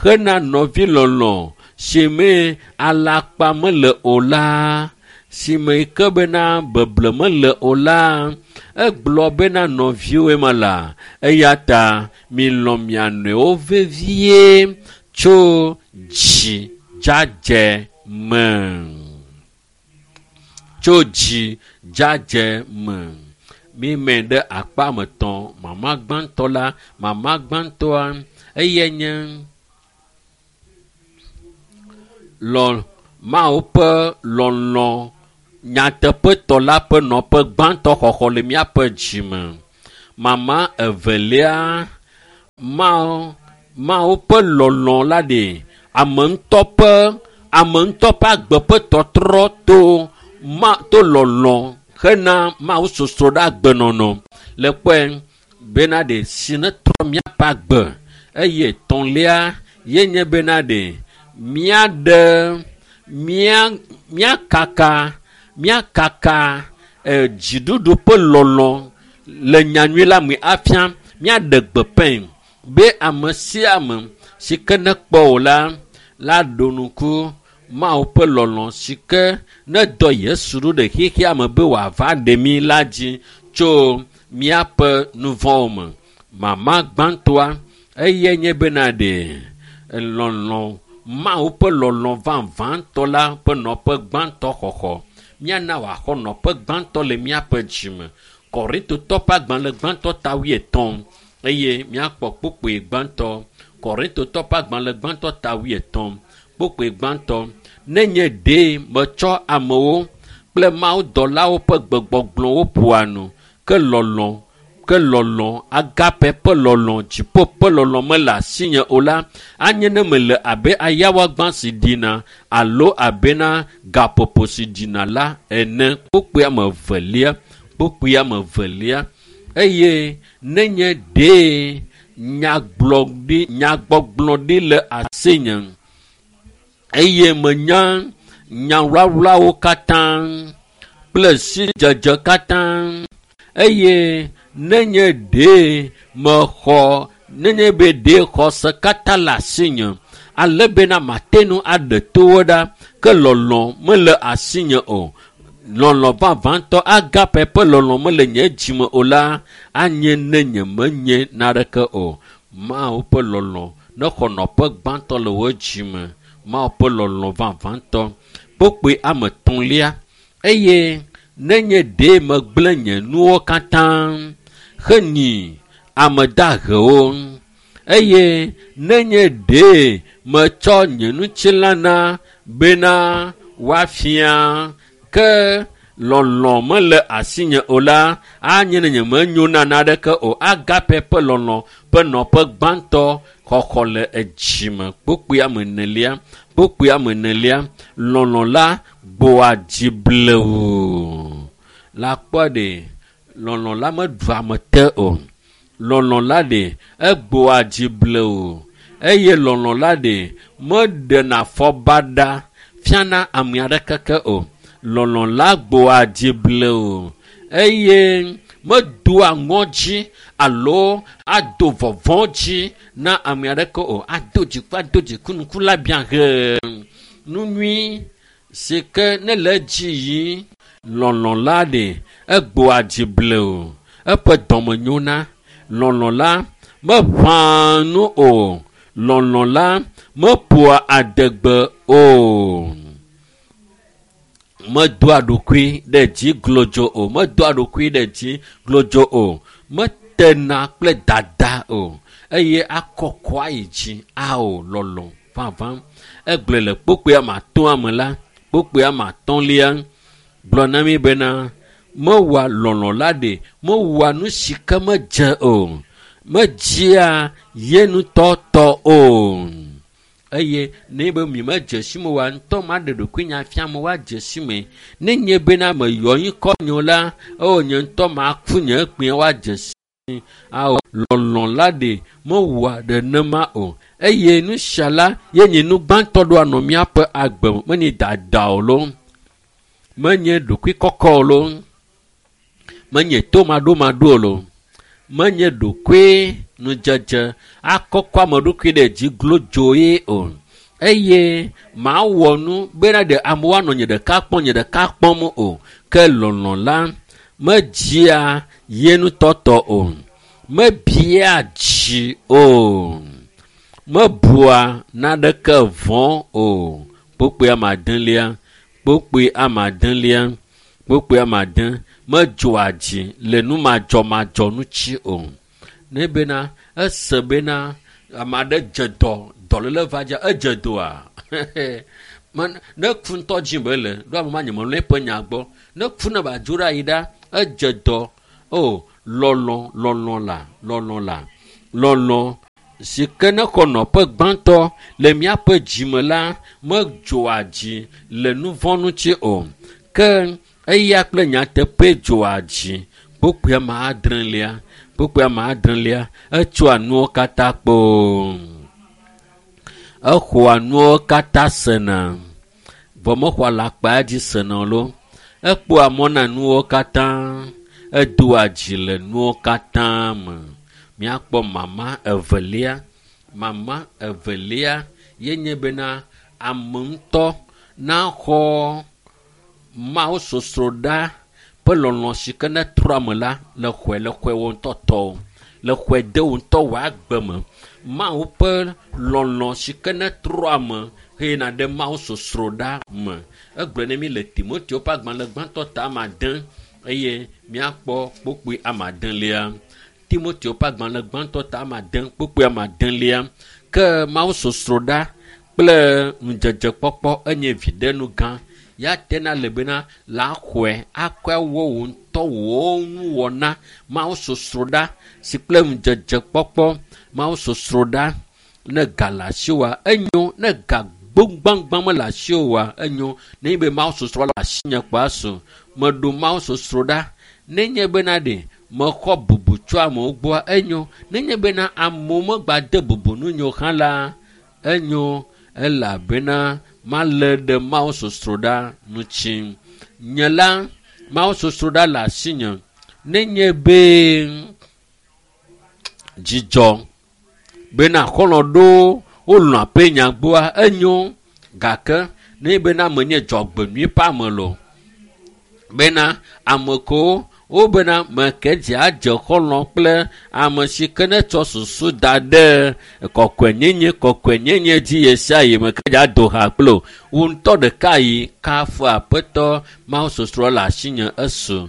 hena nɔvilɔlɔ̃ si me alakpa mele o la, si me ke bena beble mele o la, egblɔ bena nɔviwoe me la, eya ta milɔ̃ mia nɔewo vevie tso dzi dzadzɛ me. Tso dzi dzadzɛ me. Mímɛ ɖe akpa me tɔ̃. Mama gbãtɔ la, mama gbãtɔa, eyae nye lɔ Mawu ƒe lɔlɔ̃ nyateƒetɔ la ƒe nɔƒe gbãtɔ xɔxɔ le míaƒe dzime. Mama evelia, Mawu, Mawu ƒe lɔlɔ̃ la ɖe ame ŋutɔ ƒe, ame ŋutɔ ƒe agbe ƒe tɔtrɔ to ma, to lɔlɔ̃ hena Mawu sosro ɖe agbenɔnɔ. Le kpɔe bena ɖe si ne trɔ míaƒe agbe. Eye etɔ̃lia ye nye bena ɖe míaɖe mía, míakaka, míakaka, e, dziɖuɖu ƒe lɔlɔ̃ le nyanyui la me afia míaɖe gbeƒãe be ame sia ame si ke nekpɔ o la, la ɖo ŋku Mawu ƒe lɔlɔ̃ si ke nedɔ Yesu ɖo ɖe xexea me be wòava ɖe mí la dzi tso míaƒe nu vɔ̃wo me. Mama gbãtɔa eyae nye bena ɖe lɔlɔ̃ Mawu ƒe lɔlɔ̃ vavãtɔ la ƒe nɔƒe gbãtɔ xɔxɔ. Míana wòaxɔ nɔƒe gbãtɔ le míaƒe dzime. Korintotɔ ƒe agbalẽ gbãtɔ ta wuietɔ̃ eye míakpɔ kpukpui gbãtɔ. Korintotɔ ƒe agbalẽ gbãtɔ ta wuietɔ̃ kpukpui gbãtɔ. Nenye ɖe metsɔ amewo kple mawudɔlawo ƒe gbegbɔgblɔwo ƒoa nu, ke lɔlɔ̃, ke lɔlɔ̃, agape ƒe lɔlɔ̃, dziƒo ƒe lɔlɔ̃ mele asinye o la, anye ne mele abe ayawagbã si ɖina alo abe na gaƒoƒo si ɖina la ene. Kpukpui ame evelia, kpukpui ame evelia. Eye nenye ɖe nyagblɔɖi, nyagbɔgblɔ ɖi le asinye eye menya nyawlawlawo katã kple sidzedze katã eye nenye ɖe mexɔ, nenye be ɖe xɔse katã le asinye ale bena mate ŋu aɖe towo ɖa, ke lɔlɔ̃ mele asinye o. Lɔlɔ̃ vavãtɔ agape ƒe lɔlɔ̃ mele nye dzime o la, anye ne nye menye naneke o. Mawu ƒe lɔlɔ̃ nexɔ nɔƒe gbãtɔ le wò dzime. Mawu ƒe lɔlɔ̃ vavãtɔ. Kpukpui ame etɔ̃lia. Eye nenye ɖe megblẽ nye nuwo katã henyi ame dahewo eye nenye ɖe metsɔ nye ŋutilã na bena woafia ke lɔlɔ̃ mele asinye o la, anye ne nye menyo na naneke o. Agape ƒe lɔlɔ̃ ƒe nɔƒe gbãtɔ xɔxɔ le edzime. Kpukpui ame enelia, kpukpui ame enelia. Lɔlɔ̃ la gbɔa dzi blewu. La kpɔ ɖe lɔlɔ̃ la meɖua ame te o. Lɔlɔ̃ la ɖe egbɔa dzi blewu eye lɔlɔ̃ la ɖe meɖena afɔbaɖa fiana ame aɖeke ke o. Lɔlɔ̃ la gbɔa dzi blewu eye medoa ŋɔdzi alo ado vɔvɔ̃ dzi na ame aɖeke o. Ado dziku, ado dziku, ŋku la biã hee. Nu nyui si ke ne le edzi yim, lɔlɔ̃ la ɖe egbɔa dzi blewu, eƒe dɔme nyona. Lɔlɔ̃ la meʋãa nu o. Lɔlɔ̃ la meƒoa adegbe o. Medoa ɖokui ɖe dzi glodzo o. Medoa ɖokui ɖe dzi glodzo o. Metena kple dada o. Eye akɔkɔa yi dzi ao lɔlɔ̃ vavã. Egblɔe le kpukpui ame atɔ̃a me la, kpukpui ame atɔ̃lia gblɔ na mí bena mewɔa lɔlɔ̃ la ɖe, mewɔa nu si ke medze o. Medzia ye ŋutɔ tɔ o. Eye ne be mi medze si me oa, ŋutɔ maɖe ɖokuinye afia me woadze si me. Ne nye bena meyɔ ŋkɔ nye o la, eo nye ŋutɔ maku nye kpuie woadze si Awo lɔlɔ̃ la ɖe mewɔa nenema o. Eye nu sia la ye nye nu gbãtɔ ɖo anɔ míaƒe agbe me. Menye dada o loo, menye ɖokuikɔkɔ o loo, menye tomaɖomaɖo o loo, menye ɖokui nudzedze akɔkɔ ame ɖokui ɖe dzi glodzoe o. Eye mawɔ nu bena ɖe amewo anɔ nye ɖeka kpɔm nye ɖeka kpɔm o. Ke lɔlɔ̃ la medzia ye ŋutɔ tɔ o, mebia dzi o, mebua naneke vɔ̃ o. Kpukpui ame adelia, kpukpui ame adelia, kpukpui ame ade medzɔa dzi le numadzɔmadzɔ ŋuti o. Ne bena ese bena ame aɖe dze dɔ, dɔléle va dzia, edze dɔa ne ku ŋutɔ dzi be le, ɖo ame ma nye melɔ̃ eƒe nya gbɔ. Ne ku ne ba dzo ɖe ayi ɖa, edze dɔ. O, lɔlɔ̃, lɔlɔ̃ la, lɔlɔ̃ la, lɔlɔ̃ si ke ne xɔ nɔƒe gbãtɔ le míaƒe dzime la medzɔa dzi le nu vɔ̃ ŋuti o. Ke eya kple nyateƒe dzɔa dzi. Kpukpui ame adrelia, kpukpui ame adrelia, etsɔa nuwo katã kpoo. Exɔa nuwo katã sena. Vɔ mexɔa alakpa dzi sena o loo. Ekpɔa mɔ na nuwo katã. Edoa dzi le nuwo katã me. Míakpɔ mama evelia. Mama evelia ye nye bena ame ŋutɔ naxɔ Mawu sosroɖa ƒe lɔlɔ̃ si ke ne trɔ ame la le xɔe le xɔe wo ŋutɔ tɔwo, le xɔe de wo ŋutɔ wò agbe me. Mawu ƒe lɔlɔ̃ si ke ne trɔ ame heyina ɖe Mawu sosroɖa me. Egblɔe ne mi le Timoteo ƒe agbalẽ gbãtɔ ta ame ade eye míakpɔ kpukpui ame adelia. Timoteo ƒe agbalẽ gbãtɔ ta ame ade kpukpui ame adelia. Ke Mawu sosroɖa kple ŋudzedzekpɔkpɔ enye viɖenu gã. Ya tena le bena la xɔe akɔe wɔ wò ŋutɔ wò nuwɔna. Mawu sosroɖa si kple ŋudzedzekpɔkpɔ. Mawu sosroɖa ne ga le asiwòa enyo, ne ga gbogbagbã mele asiwòa enyo. Nenye be Mawu sosroɖa le asinye kpɔa su. Meɖo Mawu sosroɖa. Nenye bena ɖe mexɔ bubu tso amewo gbɔa enyo. Nenye bena amewo megbade bubu ŋunye o hã la enyo elabena malé ɖe Mawu sosroɖa ŋuti. Nye la, Mawu sosroɖa le asinye. Nenye be dzidzɔ bena xɔlɔ̃ ɖewo wolɔ̃ aƒe nya gbɔa enyo gake nenye bena menye dzɔgbenyui ƒe ame loo bena ame kewo wobena meke dzi adze xɔlɔ̃ kple ame si ke ne tsɔ susu da ɖe kɔkɔenyenye kɔkɔenyenye dzi ɣe sia ɣi meke dzi ado ha kple o. Wò ŋutɔ ɖeka yi kafu aƒetɔ Mawu sosroɖa le asinye esu.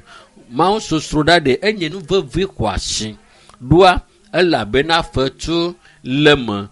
Mawu sosroɖa ɖe enye nu vevi xɔasi ɖoa elabena fetu le me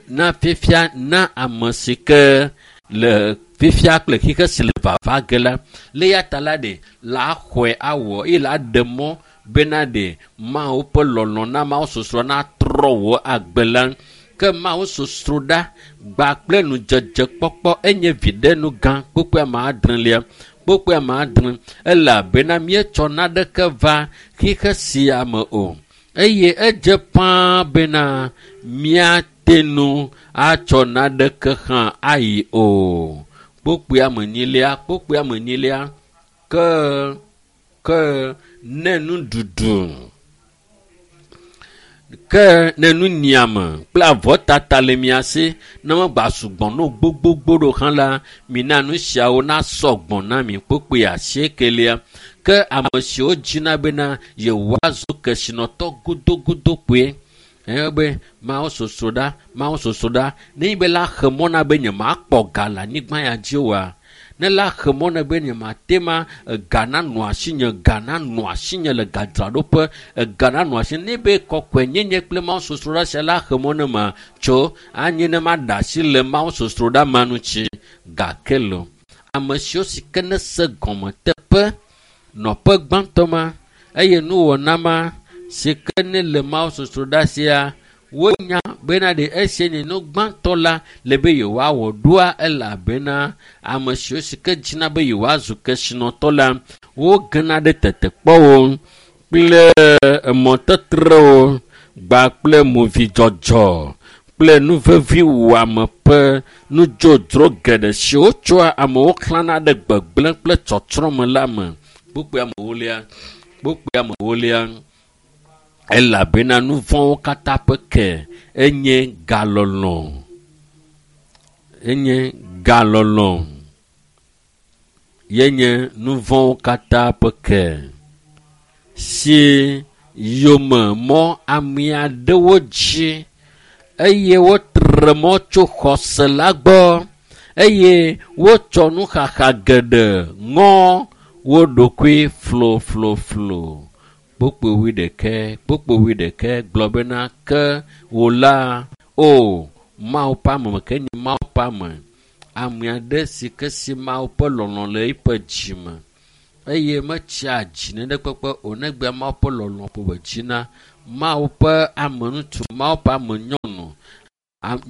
na fifia na ame si ke le fifia kple xixe si le vava ge la. Le ya ta la ɖe la xɔe awɔ eye la ɖe mɔ bena ɖe Mawu ƒe lɔlɔ̃ na Mawu sosroɖa natrɔ wò agbe la. Ke Mawu sosroɖa gba kple ŋudzedzekpɔkpɔ enye viɖenu gã kpukpui ame adrelia. Kpukpui ame adre elabena míetsɔ naneke va xixe sia me o. Eye edze ƒãa bena míate ŋu atsɔ naneke hã ayi o. Kpukpui ame enyilia, kpukpui ame enyilia ke ke ne nuɖuɖu ke ne nunyiame kple avɔtata le mia si ne megba sugbɔ no gbogbogbò ɖo hã la, mina nu siawo nasɔ gbɔ na mi. Kpukpui asiekelia. Ke ame siwo dzina bena yewoazu kesinɔtɔ godogodo kpoe. Eye be Mawu sosroɖa, Mawu sosroɖa. Nenye be la xe mɔ na be nyemakpɔ ga le anyigba ya dzi oa, ne la xe mɔ na be nyemate ma ega nanɔ asinye, ga nanɔ asinye le gadzraɖoƒe, ega nanɔ asinye. Ne be kɔkɔenyenye kple Mawu sosroɖa sia la xe mɔ ne ma tso anyi ne maɖe asi le Mawu sosroɖa ma ŋuti gake lo. Ame siwo si ke ne se gɔme teƒe nɔƒe gbãtɔ ma eye nuwɔna ma si ke ne le Mawu sosroɖa sia wonya bena ɖe esia nye nu gbãtɔ la le be yewoawɔ ɖoa elabena ame siwo si ke dzina be yewoazu kesinɔtɔ la wogena ɖe tetekpɔwo Kple emɔtetrewo gba kple movidzɔdzɔ kple nuvevi wɔame ƒe nudzodzro geɖe siwo tsɔa amewo xlãna ɖe gbegblẽ kple tsɔtsrɔ̃ me la me. Kpukpui amewolia, kpukpui amewolia, elabena nu vɔ̃wo katã ƒe ke enye galɔlɔ̃. Enye galɔlɔ̃. Yenye nu vɔ̃wo katã ƒe ke si yome mɔ ame aɖewo dzi eye wotre mɔ tso xɔse la gbɔ eye wotsɔ nuxaxa geɖe ŋɔ wo ɖokui flofloflo. Kpukpui wuiɖekɛ, kpukpui wuiɖekɛ gblɔ bena ke wò la, o Mawu ƒe ame ke nye Mawu ƒe ame, ame aɖe si ke si Mawu ƒe lɔlɔ̃ le eƒe dzime eye metsia dzi nenekpekpe o negbe Mawu ƒe lɔlɔ̃ ƒo dzina. Mawu ƒe ame ŋutsu, Mawu ƒe ame nyɔnu,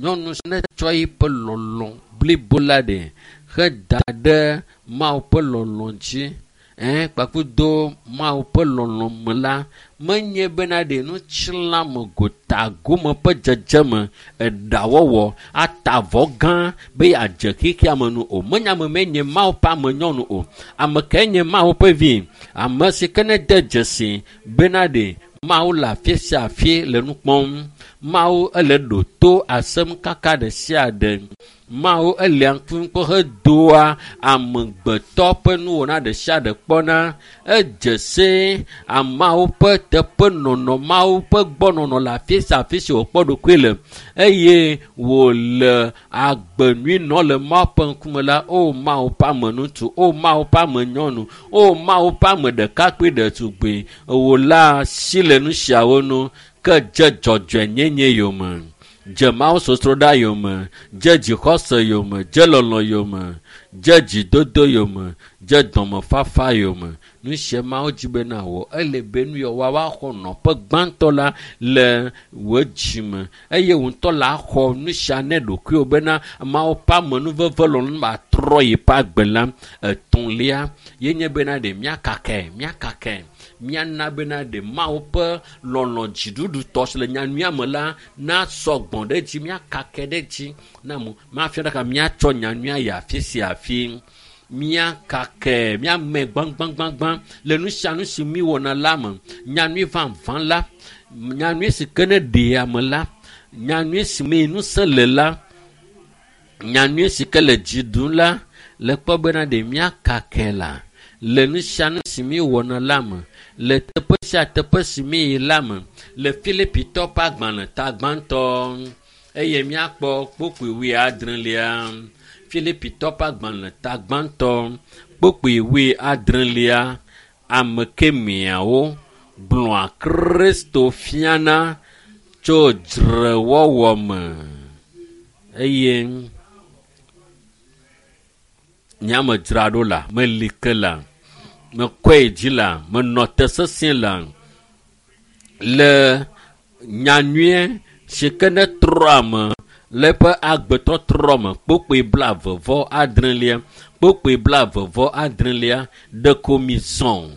nyɔnu si netsɔ eƒe lɔlɔ̃ blibo la ɖe heda ɖe Mawu ƒe lɔlɔ̃ dzi. Ɛ̃, kpakple Mawu ƒe lɔlɔ̃ me la, menye bena ɖe nutsilãme gotagome ƒe dzedzeme, eɖawɔwɔ, ata avɔ gã be yeadze xexea me nu o. Menye ame mee nye Mawu ƒe ame nyɔnu o. Ame kae nye Mawu ƒe vi? Ame si ke nede dzesi bena ɖe Mawu le afi sia afi le nu kpɔm. Mawu ele ɖo to asem kaka ɖe sia ɖe. Mawu elia ŋku kpɔ hedoa amegbetɔ ƒe nuwɔna ɖe sia ɖe kpɔna. Edze se ameawo ƒe teƒenɔnɔ, Mawu ƒe gbɔnɔnɔ le afi sia afi si wòkpɔ ɖokui le eye wòle agbe nyui nɔ le Mawu ƒe ŋkume la, o Mawu ƒe ame ŋutsu, o Mawu ƒe ame nyɔnu, o Mawu ƒe ame ɖekakpui ɖetugbui, wò la si le nu siawo nu ke dze dzɔdzɔenyenye yome. Dze Mawu sosroɖa yome, dze dzixɔse yome, dze lɔlɔ̃ yome, dze dzidodo yome, dze dɔmefafa yome. Nu sia Mawu dzi be nawɔ. Ele be nu yawo woaxɔ nɔƒe gbãtɔ la le wò dzime eye wò ŋutɔ la xɔ nu sia ne ɖokuiwò bena Mawu ƒe amenuveve lɔlɔ̃nu atrɔ yiƒe agbe la. Etɔ̃lia ye nye bena ɖe míakakae, míakakae, míana bena ɖe Mawu ƒe lɔlɔ̃ dziɖuɖutɔ si le nyanyuia me la nasɔ gbɔ̃ ɖe edzi, míakakae ɖe edzi na mo. Mafia ɖeka míatsɔ nyanyuia yi afi sia afi. Míakakae, míame gbãgbãgbãgbã le nu sia nu si míwɔna la me. Nyanyui vavã la, nyanyui si ke ne ɖea ame la, nyanyui si me ŋusẽ le la, nyanyui si ke le dzi ɖum la, le kpɔ bena ɖe míakakae la le nu sia nu si míwɔna la me, le teƒe sia teƒe si míyi la me, le Filipitɔ ƒe agbalẽ ta gbãtɔ eye míakpɔ kpukpui wuiadrelia. Filipitɔ ƒe agbalẽ ta gbãtɔ kpukpui wuiadrelia, ame kemiawo gblɔa Kristo fiana tso dzrewɔwɔ me eye nyame dzra ɖo la, meli ke la, mekɔe dzi la, menɔ te sesĩe la le nyanyuie si ke ne trɔ ame le eƒe agbetɔtrɔ me. Kpukpui blaeve vɔ adrelia, kpukpui blaeve vɔ adrelia, ɖeko mi zɔ,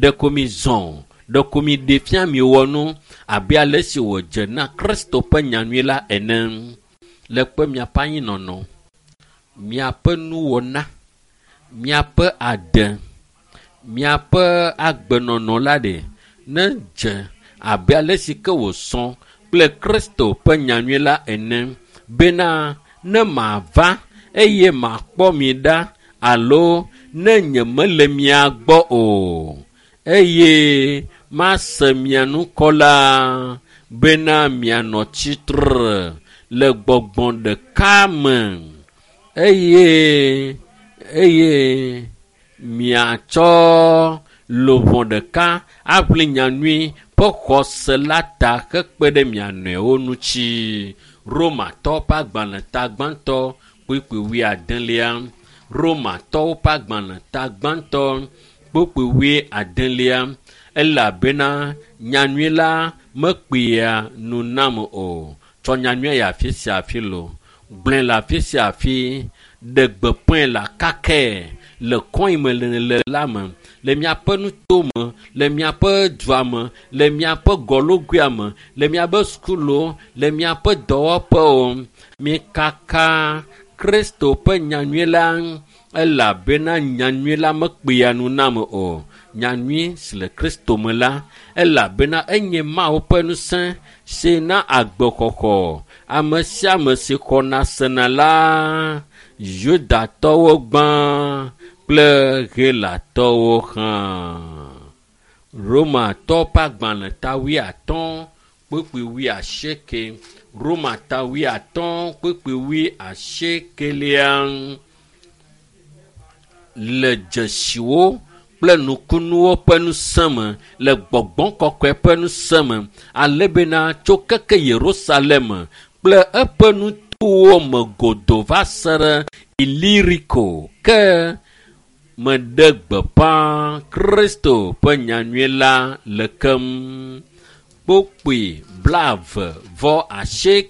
ɖeko mi zɔ, ɖeko mi ɖe fia mi wɔ nu abe ale si wòdze na Kristo ƒe nyanyui la ene. Le kpe miaƒe anyinɔnɔ, miaƒe nuwɔna, miaƒe ade, miaƒe agbenɔnɔ la ɖe ne dze abe ale si ke wòsɔ kple Kristo ƒe nyanyui la ene bena ne mava eye makpɔ mi ɖa alo ne nyemele mia gbɔ o eye mase mia ŋkɔ la bena mianɔ tsitre le gbɔgbɔ ɖeka me eye eye miatsɔ luʋɔ ɖeka aʋli nyanyui ƒe xɔse la ta hekpe ɖe mia nɔewo ŋuti. Romatɔwo ƒe agbalẽ ta gbãtɔ kpukpui wuiadelia. Romatɔwo ƒe agbalẽ ta gbãtɔ kpukpui wuiadelia. Elabena nyanyui la mekpea nu nam o. Tsɔ nyanyuia yi afi sia afi lo. Gblɔe le afi sia afi. Ɖe gbeƒãe le akakae le kɔe me le le la me. le miaƒe nutome, le miaƒe dua me, le miaƒe gɔlogoea me, le miaƒe sukuluwo, le miaƒe dɔwɔƒewo. Mikaka Kristo ƒe nyanyui la elabena nyanyui la mekpea nu na ame o. Nyanyui si le Kristo me la elabena enye Mawu ƒe ŋusẽ si na agbexɔxɔ ame sia ame si xɔna sena la, Yudatɔwo gbã kple Helatɔwo hã. Romatɔwo ƒe agbalẽ ta wuiatɔ̃ kpukpui wuiasieke. Roma ta wuiatɔ̃ kpukpui wuiasiekelia le dzesiwo kple nukunuwo ƒe ŋusẽ me le gbɔgbɔ kɔkɔe ƒe ŋusẽ me ale bena tso keke Yerusalem kple eƒe nutowo me godoo va se ɖe Iliriko ke meɖe gbeƒã Kristo ƒe nyanyui la le keŋ. Kpukpui blaeve vɔ asieke.